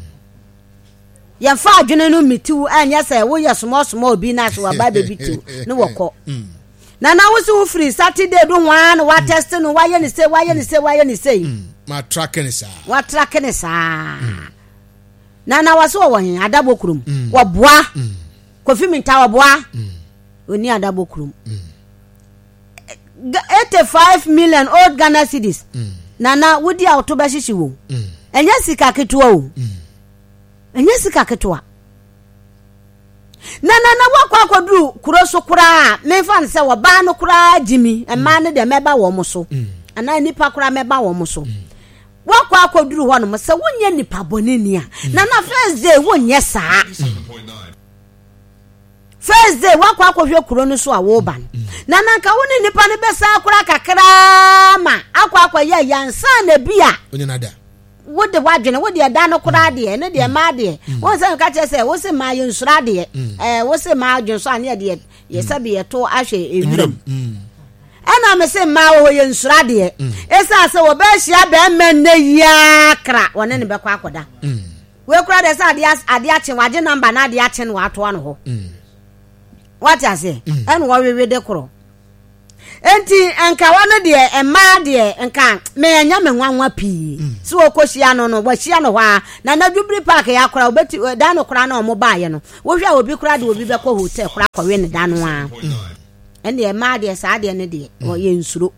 Yɛmfa adwene no mmitiw ɛnyɛ sɛ woyɛ small small bi na so waba bɛbi tiw ne wɔkɔ. Na na wo se wo firi Saturday do ho ara na watɛste no wayɛ ne sei wayɛ ne sei wayɛ ne sei. Matrake ne saa. Watrake ne saa. Na na wɔse wɔwɔ he Adabɔ kurom. Wɔboa. Kofi Minta wɔboa. Ɔni Adabɔ kurom. Eighty five million old Ghana cedis. Na na wodi a woto bɛhyehye wo. Ɛnyɛ sika ketewa o. Ɛnyɛ sika ketewa. Na na na wakɔ akɔduru kuro so koraa memfa no sɛ wɔbaa no koraa gyimi mmaa no deɛ mɛba wɔn so. Anaa nipa koraa mɛba wɔn so. Wakɔ akɔduru hɔ nom sɛ wonyɛ nipa bɔne ni a, Nana, first day wonyɛ saa. First day wakɔ akɔhwɛ kuro no so a woba no, Nana, nka wo ne nipa no bɛsa akora kakraa ma akɔ akɔyɛ yansa na bi a onye nada. Wode w'adwene, wode ɛda no koraa deɛ, ne deɛ mmaa deɛ wɔn sɛ nka kyerɛ sɛ wose mmaa yɛ nsuro adeɛ, ɛɛ wose mmaa adwene so aneɛ deɛ yɛ sɛbi yɛto ahwɛ ewuram. Ɛna me se mmaa wɔ hɔ yɛ nsuro adeɛ, ɛsiane sɛ wɔbɛhyia bɛrima nnɛ yiaa kra wɔne ne bɛkɔ akɔda. Wei koraa deɛ sɛ adeɛ adeɛ akye, wagye number na adeɛ akye no, watoa no hɔ. Wate aseɛ? Ɛna wɔwewe de korɔ. Nti nka wɔn deɛ, mmaa deɛ, nka mɛnya me nwanwa pii sɛ wɔkɔhyia no no wɔahyia no hɔ a na na Jubilee Park yɛ akora wobɛti da no koraa na ɔmo baayɛ no, wohwɛ a obi koraa de obi bɛkɔ hotel koraa kɔwe ne da no a, ɛnneɛ mmaa deɛ, saa deɛ no deɛ ɔyɛ nsuro.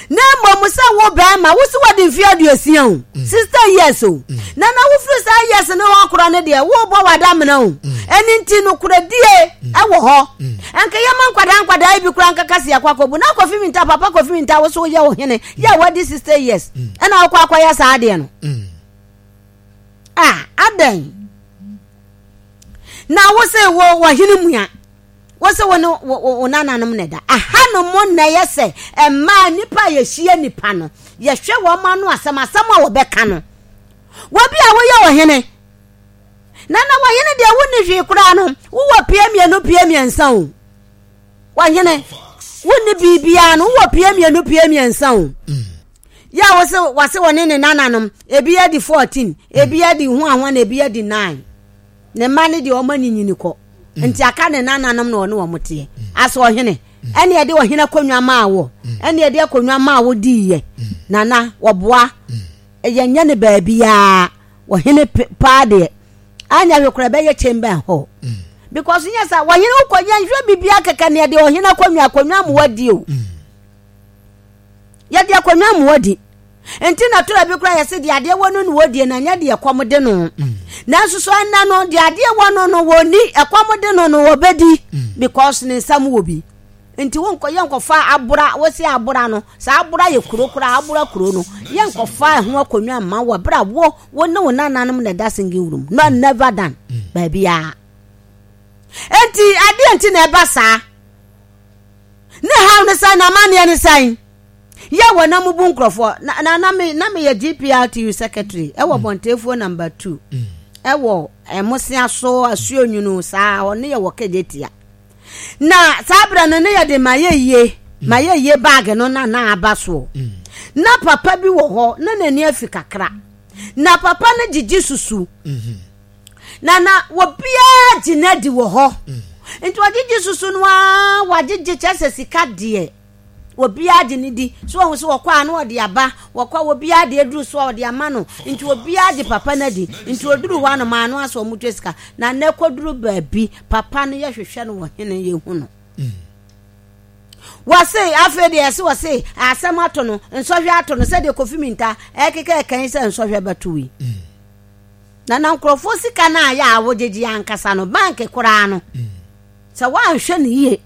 Na mmom sɛ wo bɛrima wo si wɔde mfe aduosia o, sixty years o, na na wofiri saa years ne hɔ korɔ no deɛ, wobɔ w'adamena o. Ɛno nti nokoradie ɛwɔ hɔ. Ɛnka yɛma nkwadaa nkwadaa yi bi koraa nkaka si akɔ akɔbu na akɔfi mi nta papa kɔfi mi nta wo so woyɛ wo hene yɛ a wadi sixty years ɛna wokɔ akɔyɛ saa adeɛ no a, adɛn na wo se wo wɔhene mua wo sɛ wo ne wo nananom na ɛda aha no mo na ɛyɛ sɛ mmaa nipa a yɛhyia nipa no, yɛhwɛ wɔn ano asɛm asɛm a wɔbɛka no. Wɔbi a woyɛ ɔhene na na wɔhene deɛ, wonni hwee koraa no, wowɔ pie mmienu, pie mmiɛnsa o. Wɔhene wonni biribiara no, wowɔ pie mmienu, pie mmiɛnsa o. Yɛ a wɔsɛ wɔsɛ wɔne ne nananom, ebi adi fourteen, ebi adi ho ahoa, na ebi adi nine. Ne mma ne deɛ, wɔn anyinyini kɔ, nti aka ne nananom na ɔne wɔn teɛ asɛ ɔhene. Ɛne ɛde ɔhene akonnwa maa wɔ, ɛne ɛde akonnwa maa wɔ diiɛ. Nana wɔboa yɛnyɛ ne baabiara ɔhene paa deɛ, anya hwɛ koraa ɛbɛyɛ chamber hall, because nyɛ sɛ ɔhene wokɔ yɛnhwɛ biribiara kɛkɛ ne yɛde ɔhene akonnwa akonnwa mu wadi o. Yɛde akonnwa mu wadi nti na tora bi koraa yɛsɛ deɛ adeɛ wɔ no na wɔdie na nyɛ deɛ ɛkɔm de no. Nanso so ɛnna no deɛ adeɛ wɔ no no wɔni ɛkɔm de no no wɔbɛdi, because ne nsam wɔ bi. Nti wonkɔ yɛnkɔfa abora wɔsi abora no saa abora yɛ kuro koraa, abora kuro no yɛnkɔfa ɛho akonnwa mma wɔ abere a wo wo ne wo nananom na ɛda single room no. Never done baabiara. Nti adeɛ nti na ɛba saa ne haw ne sɛn na amanneɛ ne sɛn yɛ wɔ na mubu nkurɔfoɔ na na na me na meyɛ G P R T U secretary ɛwɔ Bɔnteefuo number two ɛwɔ ɛmosea so asuo nwunu saa ɔne yɛ wɔ Kejetia. Na saa berɛ no ne yɛde ma yɛ yie ma yɛ yie bag no na na aba soɔ. Na papa bi wɔ hɔ na n'ani afi kakra, na papa no gyegye susu na na obiara gye n'adi wɔ hɔ. Nti ɔgyegye susu no ara wagyegye kyerɛ sɛ sika deɛ obiara gye ne di so. Wɔn so wɔkɔ a na ɔde aba, wɔkɔ a obiara de aduru so a ɔde ama no. Nti obiara gye papa no adi. Nti oduru hɔ anom ano asɛ wɔn twa sika na ne kɔduru baabi, papa no yɛhwehwɛ no wɔ hene yɛhu no. Wɔse afei deɛ yɛse wɔse asɛm ato no, nsɔhwɛ ato no sɛdeɛ Kofi Minta ɛkeka ɛkan sɛ nsɔhwɛ bɛto yi. Na na nkurɔfoɔ sika no a yɛ a wogyegye ankasa no bank koraa no sɛ woanhwɛ no yie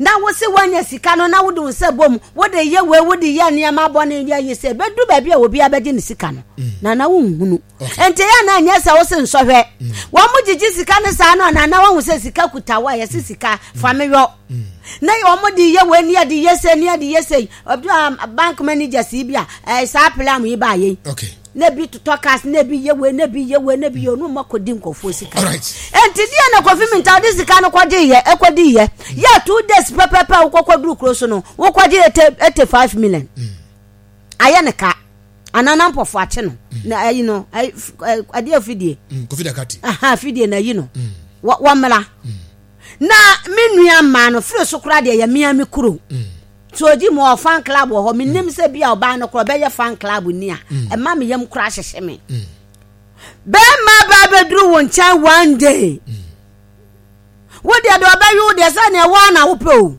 na wose woanya sika no na wode wo nsa bom wode yɛ wei, wode yɛ nneɛma bɔne yɛ yi sɛ bɛdu baabi a obi abɛgye ne sika no na na wonhunu. Nti yɛ na nyɛ sɛ wose nsɔhwɛ wɔn mo gyegye sika no saa no na na wɔn sɛ sika kuta wo a yɛse sika fa me yɔ na wɔn de yɛ wei ne yɛde yɛ sɛ ne yɛde yɛ sɛ obi a bank managers yi bi a ɛɛ saa plan yi ba yɛ okay na ebi totɔ cars na ebi yɛ wei na ebi yɛ wei na ebi yɛ onu ma kɔdi nkɔfoɔ sika. Alright. Nti deɛ na Kofi Minta ɔde sika no kɔgye yɛ ɛkɔdi yɛ yɛ two days pɛpɛpɛ a wokɔkɔ duru kuro so no wokɔgye eighty eighty five million ayɛ ne ka anana mpɔfo akye no na ayi no ayi adeɛ fidie. Mm, kofi Dakati. Aha fidie na ayi no wɔ wɔmmra na me nua mmaa no firi so koraa deɛ yɛ mmea me kuro so odi mu ɔ fan club wɔ hɔ. Menim sɛ bi a ɔbaa no korɔ ɔbɛyɛ fan club ni a ɛma me yam koraa hyehyɛ me. Bɛrima ba bɛduru wo nkyɛn one day, wo deɛ deɛ ɔbɛwe wo deɛ sɛ neɛ woa na wopɛ o.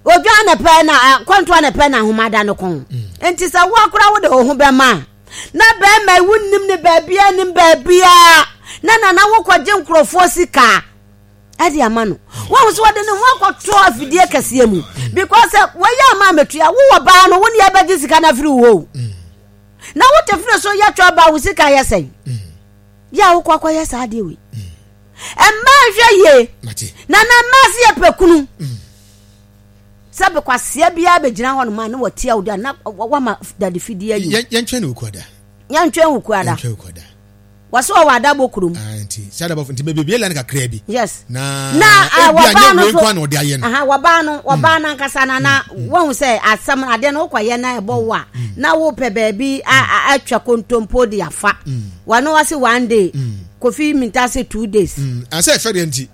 Odwa na pɛ na kɔntoa na pɛ na ahomada no kɔn. Nti sɛ woa koraa wode wo ho bɛma a na bɛrima yi wonnim ne baabia nim baabia na nana wokɔgye nkurɔfoɔ sika. Ɛde ama no. Wɔn nso wɔde ne ho akɔto afidie kɛseɛ mu because wɔyɛ ama ametua wowɔ baa no wo ne yɛbɛgye sika no afiri wo hɔ mm. Na wote firi so yɛ twɛ baa wo sika yɛ sɛn mm. Yɛ a wokɔ akɔyɛ saa adeɛ wei mmaa nhwɛ yie na na mmaa se yɛ pɛ kunu sɛ bekwaseɛ biara bɛgyina hɔ nom a na wɔtia wo da na wama dade fidie ayi yɛntwɛn ne wokuada yɛntwɛn wokuada wɔsɛ wɔwɔ adabɔ kurom ah, nti sɛ adabɔ nti bebie lan kakra bi yes na na ah, wɔbaa no so na ɔde ayɛ no aha wɔbaa no wɔbaa no ankasa na na mm. wɔn sɛ asɛm adeɛ no wokɔyɛ na ɛbɔ wo a mm. na wopɛ baabi atwa kontompo de afa wɔn wɔsi one day Kofi Minta se two days. Mm. Asɛ ɛfɛ deɛ nti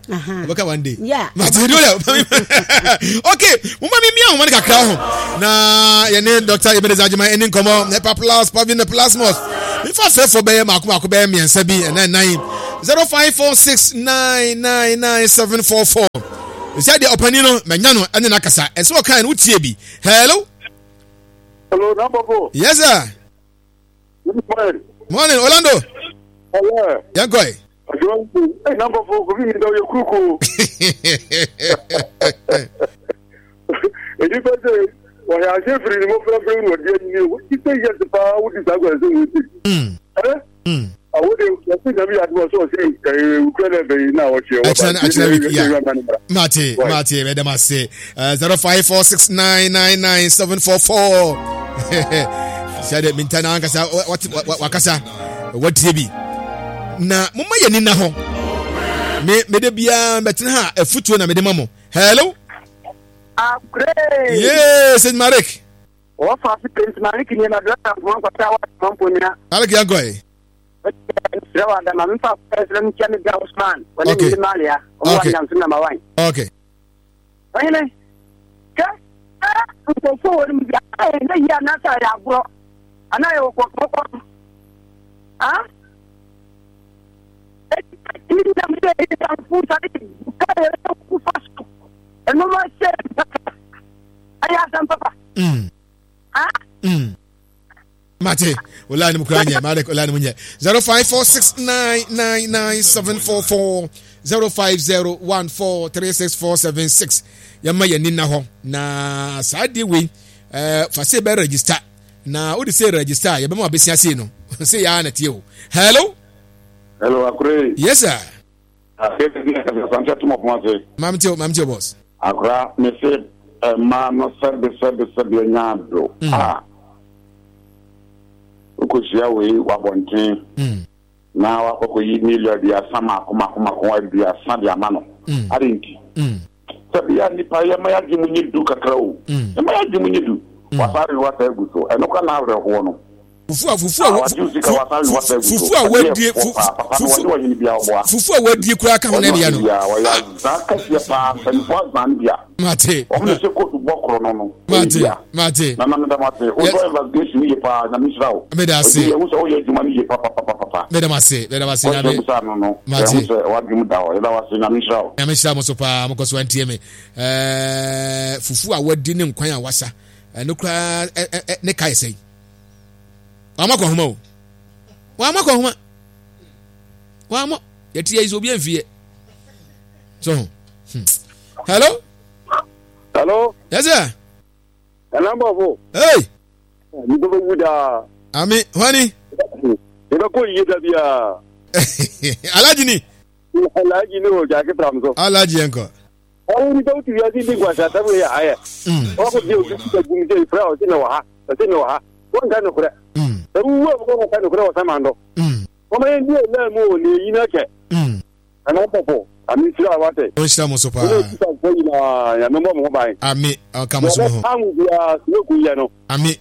ɔbɛka one day. Yeah. Mate do dɛ. Okay, mo ma mi mi ahoma no kakra ho na yɛne Doctor Ebenezer Agyeman ɛne nkɔmɔ Hepa Plus Pavin the Plasmos. Nfa afɛɛfo bɛyɛ mako mako bɛyɛ mmiɛnsa bi ɛnan nan zero five four six nine nine nine seven four four. Ɛsɛ deɛ ɔpanin no mɛnya no ɛne n'akasa ɛsɛ ɔkan no wotie bi. Hello. Hello, Nababo. Yes sir. Good morning. Morning, Orlando. Hello. Yɛn kɔ yi. Ɛ nababo kofi mi da o ye kuruko. Enipa sɛ wɔyɛ ase firi ne mmɔfra firi na ɔde anyini o ti sɛ yɛ paa wodi saa kwan sɛ wɔti. Ɛ awo de wɔsi nyame yɛ adum ɔsɛ ɔsɛ ɛɛ wukura na ɛbɛyi na ɔkyɛ wɔ ba akyerɛ week ya mate mate ɛdɛm ase zero five four six nine nine nine seven four four sɛ de minta na ankasa wakasa watie bi na moma yɛ ni na hɔ me mede biara mbɛtena ha afutuo na mede ma mo. Hello. Akure. Yes, Saint Marek. Wɔfa ase Saint Marek ni na dɔkta nkuma nkwata wa mamponya. Marek yankɔ. Srɛ wa dama mfa srɛ nkyɛ me bra Usman wɔne Okay. ne Malia ɔmo wa Okay. nyamso na mawan. Okay. Ɔhene kɛ nkurɔfoɔ wɔ no mu bi a ɛyɛ yie anaasɛ ɛyɛ agorɔ anaa ɛyɛ wɔkɔkɔkɔ ah ɛti nam sɛ ɛyɛ sare ka yɛ kufa so ɛnoma sɛ ɛyɛ asɛm papa Mm. ah Mm. Mate, ola ni mukura nye, Marek ola ni munye. Zero five four six nine nine nine seven four four zero five zero one four three six four seven six. Yɛma yɛn ni na hɔ na saa deɛ wei ɛɛ fa se bɛ register na o de se register a yɛbɛma abɛsia se no se yaa na tie o. Hello. Hello, Akure. Yes sir. Asante Tumɔ Kumase. Maame tie o, maame tie o boss. Akora me se mmaa no sɛbe sɛbe sɛbe anya ado a wokɔhyia wei wabɔnten na wakɔkɔyi million aduasa mako mako mako aduasa de ama no ade nti sɛbe yɛ nnipa yɛma yɛadwe mu nye du kakra o yɛma yɛadwe mu nye du wasare wasa agu so ɛno kora na awerɛhoɔ no fufu a fufu a fufu a wadie fufu fufu a wadie kura ka ho na ɛdeɛ no. Mate. Wɔn na ɛhyɛ kootu bɔ korɔ no no. Mate mate. Nana meda mo ase. O sɔ investigation yie paa Nyame nhyira wo. Meda ase. Obi yɛhu sɛ woyɛ adwuma no yie papapapapa. Meda mo ase. Meda mo ase Nyame. Kɔhyɛ busa no no. Mate. Yɛhu sɛ wadwene mu da hɔ. Yɛda wo ase Nyame nhyira wo. Nyame nhyira mo so paa. Mokɔ so antie me. Ɛɛ fufu a wadi ne nkwan a wasa. Ɛno koraa ne ka yɛ sɛn. Wama kɔ homa o. Wama kɔ homa. Wama. Yɛte yɛ yi sɛ obi amfie. So. Hmm. Hello. Hello. Yes sir. Hello Bafo. Hey. Ni baba wuda. Ami, wani. Ni ba ko yiye da bia. Alaji ni. Alaji ni o jake tramso. Alaji enko. Awo ni ba uti yazi ndi kwa sata we ya aya. O ko bi o ti ta gumi je ifra o ti na wa ha. O ti na wa ha. Won ka no kure. Mm. E wu wo ko ka no kure o samando. Mm. O ma ndi na mu o le yi na ke. Mm. Ana popo. Ami sira wate. O sira mo so pa. Ami o ka mo so ho. Ami.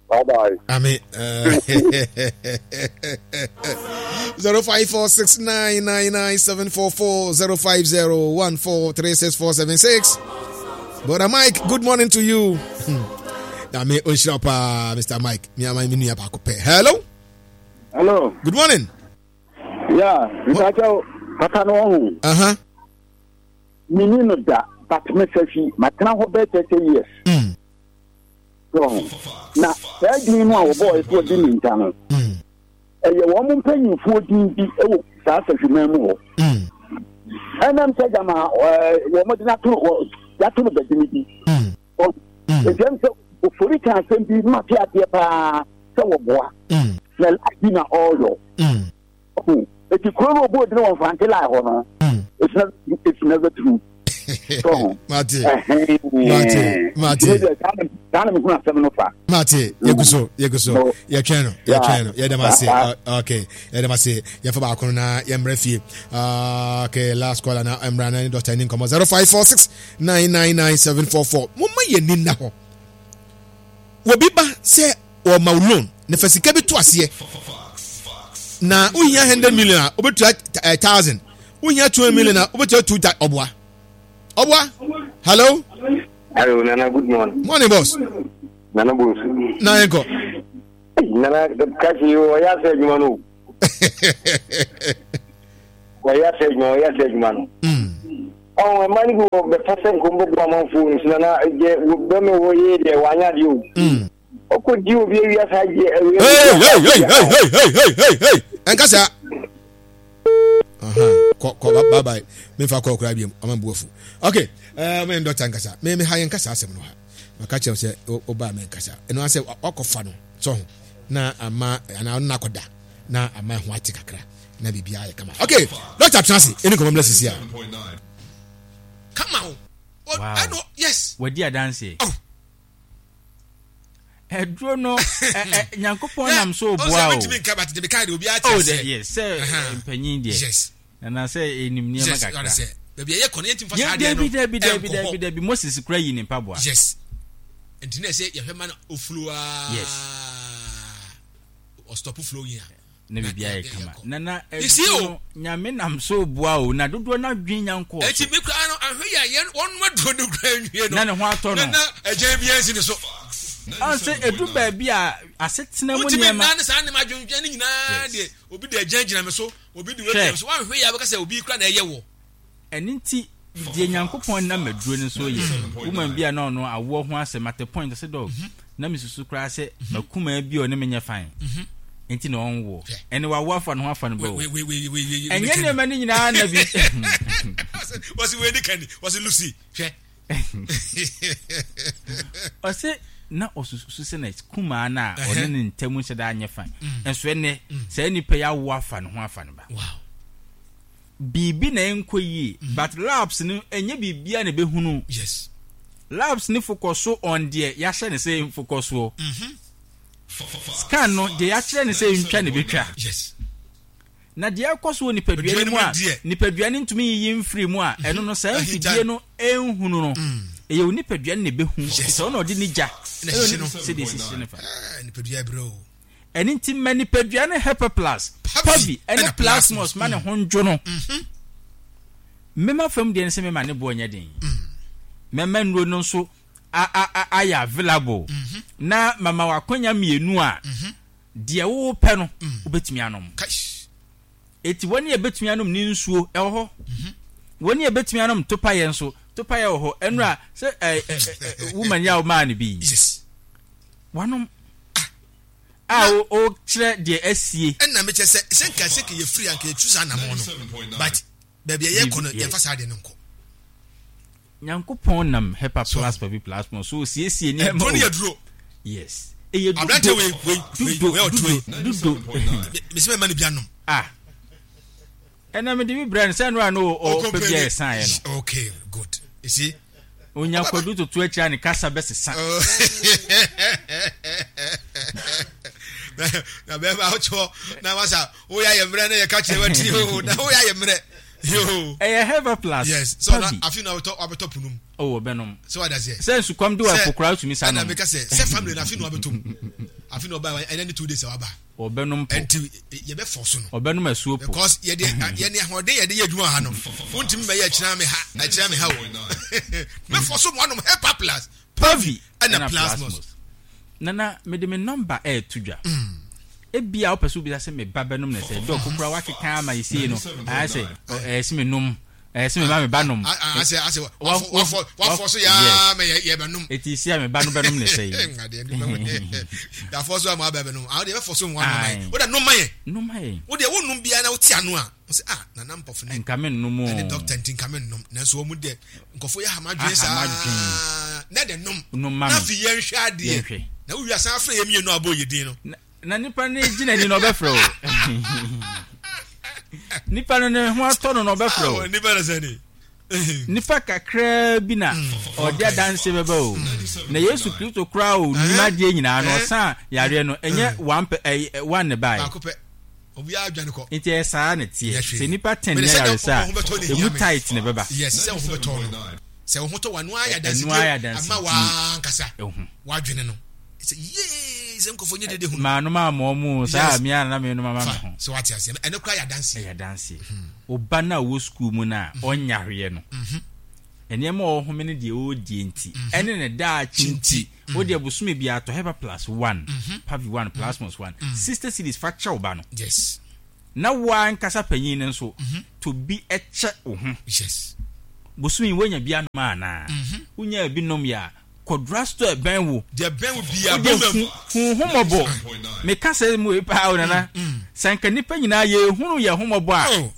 Bye bye. Ami. zero five four six nine nine nine seven four four zero five zero one four three six four seven six. Brother Mike, good morning to you. Ami o sira pa Mister Mike. Mi ama mi nua ba ko pe. Hello. Hello. Good morning. Yeah, Mister Papa no ho. Uh-huh. Mini no da, but me safi, matena ho be thirty years. Mm. So, na e din no a wo boy so di minta no. Mm. E ye wo mo mpanyimfo din bi e wo saa safi man mu ho. Mm. Ɛnam sɛ gyama wɔn de n'ato y'ato no bɛdini bi. Nti ɛm sɛ ofori ka asɛm bi ma te aseɛ paa sɛ wɔboa. Na lai bi na ɔreyɔ. Eti kuro no ɔbɔ odini wɔ Mfante lai hɔ no. It's never it's never true. Mate. Mate. Mate. Saa na mehunu asɛm no fa. Mate. Yɛgu so yɛgu so yɛtwɛn no yɛtwɛn no yɛdɛm ase okay yɛdɛm ase yɛmfa baako no na yɛmmrɛ fie. Okay, last caller na mmra na ne doctor ni nkɔmmɔ zero five four six nine nine nine seven four four. Momma yɛn ni nna hɔ. Wɔbi ba sɛ wɔma wo loan na fa sika bi to aseɛ na wohia hundred million a wobɛtua eh, thousand wohia two million a wobɛtua two thousand ɔboa ɔboa hello. Hello Nana, good morning. Morning, boss. Nana Bonsu. Na yɛn kɔ. Nana kasi ɔyɛ asɛ adwuma no. Ɔyɛ asɛ adwuma ɔyɛ asɛ adwuma no. Ɔn ɛma no bi wɔ bɛpɛ sɛ nkom bɛbu amanfoɔ no so nana deɛ bɛmɛ wɔ yie deɛ wanyɛ adeɛ o. Ɔkɔ di obi awia saa gye awia. Hey hey hey hey hey hey hey hey hey ɛnka saa. Kɔ kɔ bye bye mefa kɔ kura biom ɔma bu afu. Okay ɛɛ mɛ dɔkta nkasa mɛ mɛ ha yɛn nkasa asɛm no ha maka kyerɛ sɛ ɔbaa mɛ nkasa ɛno asɛ wakɔfa no sɔ ho na ama anaa ɔno nakɔda na ama ɛho ate kakra na biribiara yɛ kama. Okay dɔkta tena ase ɛni nkɔmɔ mmerɛ sisi a. Kama o. Wow. Ɛno yes. Wadi adanseɛ. Oh. Ɛduro no Nyankopɔn nam so boa o. Oh, yes, sɛ mpanyin deɛ. Yes. Na sɛ enim nneɛma kakra. Yes, baabi ɛyɛ kɔ no yɛntumi fa saa adeɛ no. Dabi dabi dabi dabi dabi Moses kura yi ne mpaboa. Yes. Nti na ɛsɛ yɛhwɛ ma no oflow aa. Yes. Ɔstop flow yi a. Na biribi ayɛ kama na na ɛduro no Nyame nam so boa o na dodoɔ no adwene nya nkɔɔ so. Eti mi kura no ahwɛ yɛ yɛn wɔn nua duro no kura nwie no. Na ne ho atɔ no. Na na ɛgyan bi ɛnsi ne so. Ɔn sɛ edu baabi a asetena mu Wotumi nneɛma. nna ne saa nneɛma adwendwen ne nyinaa deɛ obi de ɛgyan gyina me so obi de wei gyina me so wɔn ahwɛ yɛ abɛka sɛ obi kura na ɛyɛ wɔ. Ɛno nti deɛ Nyankopɔn nam aduro no so yɛ woman bi a na ɔno awoɔ ho asɛm at a point ɔsɛ dɔg na mesusu koraa sɛ makumaa bi a ɔne menyɛ fine nti na ɔnwoɔ ɛne wawo afa ne ho afa no bɛ o ɛnyɛ nneɛma no nyinaa na bi wɔsi wei ni kani wɔsi Lucy hwɛ ɔsɛ na ɔsusu sɛ na kumaa no a ɔne ne ntam nhyɛ da anyɛ fine nso ɛnɛ saa nipa yi awo afa ne ho afa no ba. Wow. Biribi na ɛnkɔ yie but labs no ɛnyɛ biribiara na ɛbɛhunu. Yes. Labs no focus so on deɛ yɛahyɛ no sɛ mfocus soɔ. Scan no deɛ yɛakyerɛ no sɛ ntwa na ɛbɛtwa. Yes. Na deɛ ɛkɔ so wɔ nipadua no mu a nipadua no ntumi nyiyi mfiri mu a ɛno no saa mfidie no ɛnhunu no ɛyɛ wo nipadua no na ɛbɛhu sɛ ɔna ɔde ne gya sɛdeɛ ɛsisi no fa. Nipadua ɛbrɛ o. Ɛno nti ma nipadua no Hepaplus, Pavi, ne Plasmos ma ne ho ndwo no. Mema fam deɛ no sɛ mema ne boɔ nyɛ den. Mɛma nnuro no nso ayɛ available na mama w'akwanya mmienu a deɛ wopɛ no wobɛtumi anom. Eti wɔn a ɛbɛtumi anom ne nsuo ɛwɔ hɔ. Wɔn a ɛbɛtumi anom topayɛ nso topayɛ wɔ hɔ. Ɛnura sɛ ɛ ɛ woman yi a womaa no bi. Wanom. A ɔkyerɛ deɛ asie. Ɛna mekyɛ sɛ sɛ nka sɛ kɛyɛ firi anka yɛtu saa anamɔn no but baabi a yɛkɔ no yɛmfa saa deɛ no nkɔ. Nyankopɔn nam Hepa plus Pavi plus mo so osiesie nneɛma o. Ɛduro ne yɛ Yes. Ɛyɛ dudo. Aberante wei wei wei wei ɔturo yi. Dudo. Mesi mɛma no bi anom. Ah. Ɛna mede bi brɛ no sɛ ɛno a no ɔpɛ bi a ɛsaeɛ no. Okay, good. You see? Onya kwadu toto akyira ne kasa bɛsesa. Na bɛrima wotɔ na wasa woyɛ ayɛ mmerɛ na yɛka kyerɛ wati o na woyɛ ayɛ mmerɛ. Ɛyɛ Heva plus. Yes. So na afi na wabɛtɔ wabɛtɔ punum. Oh, ɔbɛnom. So wada sɛ. Sɛ nsukɔm de wɔ ɛpo tumi sa nom. Ɛna meka sɛ sɛ family na afi na wabɛtɔ mu. Afi na ɔba ɛnɛ ne two days a waba. Ɔbɛnom po. Ɛnti yɛbɛ fɔ so no. Ɔbɛnom asuo po. Because yɛde yɛne ahoɔden yɛde yɛ adwuma ha no. Wontumi mɛyɛ ɛkyerɛ me ha ɛkyerɛ me ha o. Mɛfɔ so mo anom Hepa plus. Pavi ɛna Plasmos. Nana mede me nɔmba ɛɛto dwa. Ebia wopɛ sɛ wobisa sɛ me ba bɛnom na sɛ dɔk kokora wakeka ama yɛsie no ayɛ sɛ ɛyɛ sɛ menom Ɛyɛ sɛ mema me ba nom. Asɛ asɛ wafɔ wafɔ so yaa mɛ yɛ bɛ nom. Eti si a me ba no bɛ nom ne sɛ yi. Yafɔ so ama abɛ bɛ nom. Awo de bɛ fɔ so nwa nom yɛ. O de nom ma yɛ. Nom ma yɛ. O de wo nom bia na o ti ano a. O sɛ ah nana mpɔfo ne. Nka me nom o. Ɛne doctor nti nka me nom. Nanso wɔn mu deɛ nkɔfo yɛ hama dwen saa. Na de nom. Nom ma me. Na fi yɛn hwɛ adeɛ. Yɛn hwɛ. Na wo wia san afrɛ yɛ mmienu abɔ yɛ din no. Na nipa no gyina ni na ɔbɛfrɛ o. Nipa no ne ho atɔ no na ɔbɛfrɛ o. Nipa no sɛ ni. Nipa kakraa bi na mm, ɔde adanse bɛba o. Mm. Na Yesu Kristo koraa o nim eh? adeɛ nyinaa no eh? ɔsan yareɛ no ɛnyɛ mm. one pɛ ɛyɛ one ne bae. Baako pɛ. Obiara adwane kɔ. Nti ɛyɛ saa na teɛ. Sɛ nipa ten nya yaresa a emu tight na ɛbɛba. Yes, sɛ wo ho bɛtɔ no. Sɛ wo ho tɔ wano ayɛ adansidie ama wankasa wadwene no. Sɛ yee sɛ nkɔfo nye dede hu. Maa no maa mɔ mu saa mi ara na mi no ma ma ho. Sɛ wate aseɛ no ɛno koraa yɛ adanseɛ. Ɛyɛ adanseɛ. Ɔba no a ɔwɔ sukuu mu no a ɔnya hweɛ no nneɛma a ɔhome ne deɛ ɔredie nti ɛne ne daakye nti wo deɛ bosome biara tɔ Hepa plus one Pavi one Plasmos one sixty cedis fa kyɛ wo ba no. Yes. Na wo ankasa panyin no nso tɔ bi kyɛ wo ho. Yes. Bosome yi woanya bi anom anaa? Wonyaa bi nom yɛ a Kɔ drugstore ɛbɛn wo. Deɛ ɛbɛn wo biara. Wode hu hu ho mmɔbɔ. Meka sɛ mu wei paa o nana. Sɛ nka nnipa nyinaa yɛhunu yɛn ho mmɔbɔ a. Oh.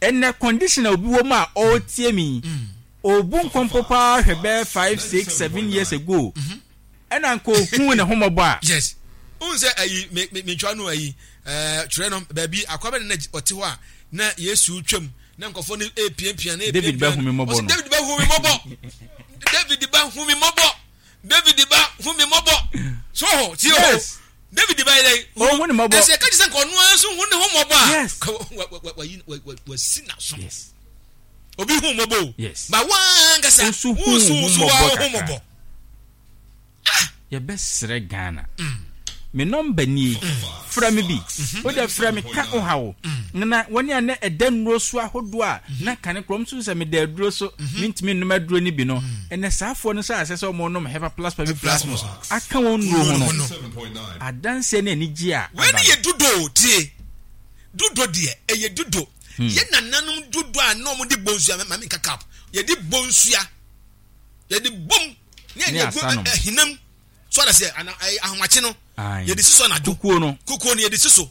Ɛnɛ condition a obi wɔ mu a ɔretie me yi, ɔrebu nkɔmpɔ paa hwɛ bɛyɛ five, six, seven years ago. Ɛna nka ohuu ne ho mmɔbɔ a. Yes. Wohu sɛ ayi me me mentwa no ayi ɛɛ twerɛ no baabi akoa bɛ na ɔte hɔ a na Yesu twam na nkurɔfoɔ no repiapia na David bɛ hu me mmɔbɔ no. David bɛ hu me mmɔbɔ. David bɛ hu me mmɔbɔ. David bɛ hu me mmɔbɔ. So hɔ tie hɔ. Yes. David bɛ yɛ dɛ. Ɔhu ne mmɔbɔ. Ɛsɛ ɛka kyerɛ sɛ nka ɔno ara nso hu ne ho mmɔbɔ a. Yes. Wayi wasi n'aso. Yes. Obi hu mmɔbɔ o. Yes. Ba wankasa. Nso hu ho mmɔbɔ kakra. Yɛbɛsrɛ Ghana. Me nɔmba nie, frɛ me bi. Wo deɛ frɛ me ka wo haw. Na wɔne a na ɛda nnuro so ahodoɔ a na kane korɔ nso sɛ meda aduro so mentumi nnom aduro no bi no, ɛnɛ saafoɔ no sɛ asɛ sɛ wɔnom Hepa Plus Pavi Plasmos aka wɔn nnuro ho no, adanseɛ ne anigyeɛ a Wei aba ne no. yɛ dudo o, tie. Dudo deɛ, ɛyɛ dudo. Yɛ nananom dudo a na wɔde bɔ nsua, ma menka cap, yɛde bɔ nsua. Yɛde bom ne yɛde agu ahinam so ada sɛ ana ahomakye no yɛde si so anadwo kukuo no kukuo no yɛde si so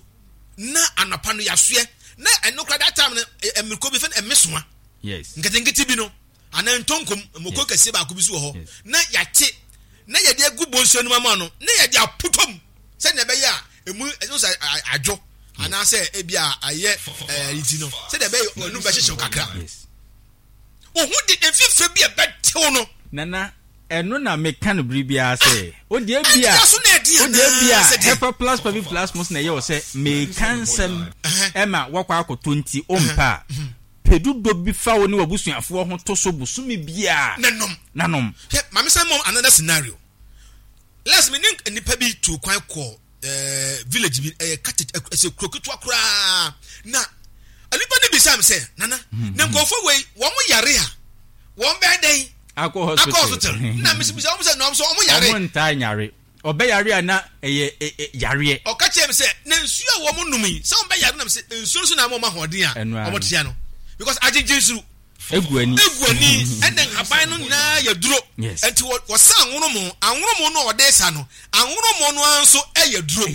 na anɔpa no yɛasoɛ na ɛno kora that time no mmiriko bi fɛn ɛmesoa yes nketenkete bi no anaa ntonkom mmoko kɛseɛ baako bi so wɔ hɔ na yɛate na yɛde agu bonsuo no mu ama no na yɛde aputom sɛdeɛ ɛbɛyɛ a emu ɛno sɛ adwo anaasɛ ebi a ayɛ ɛɛ ti no sɛdeɛ ɛbɛyɛ ɔnum bɛhyehyew kakra. Yes. Wo ho de mfifire bi a ɛbɛtew no. Nana, ɛno na meka no bere biara sɛ, wo deɛ ebia, wo deɛ ebia Hepa Plus Pavi Plasmos na ɛyɛ wo sɛ meka nsɛm ɛma woakɔ akɔtɔ nti wompɛ a, pɛ dudɔ bi fa wo ne w'abusuafoɔ ho to so bosome biara na nom. Na nom. Hwɛ, ma me san mmɔ another scenario. Last me ne nnipa bi tuu kwan kɔɔ eh, village bi, ɛyɛ cottage, ɛsɛ kuro ketewa koraa. Na nnipa no bisa me sɛ, Nana, hmm. na nkurɔfoɔ wei, wɔn yare a, wɔn bɛyɛ dɛn? Akɔ hospital. Akɔ hospital. Na mesi bisa wɔn sɛ, na wɔn sɛ wɔn yare. Wɔn ntaa nyare. Ɔbɛ yare a na ɛyɛ yareɛ. Ɔka kyerɛ me sɛ, na nsuo a wɔn nom yi, sɛ wɔn bɛ yare nam sɛ nsuo no so na ama wɔn ahoɔden a wɔn tea no. Because agyegye nsuo. Egu ani. Egu ani ɛna nhaban no nyinaa yɛ duro. Yes. Nti wɔsa anwonomo, anwonomo no a ɔde sa no, anwonomo no ara nso yɛ duro.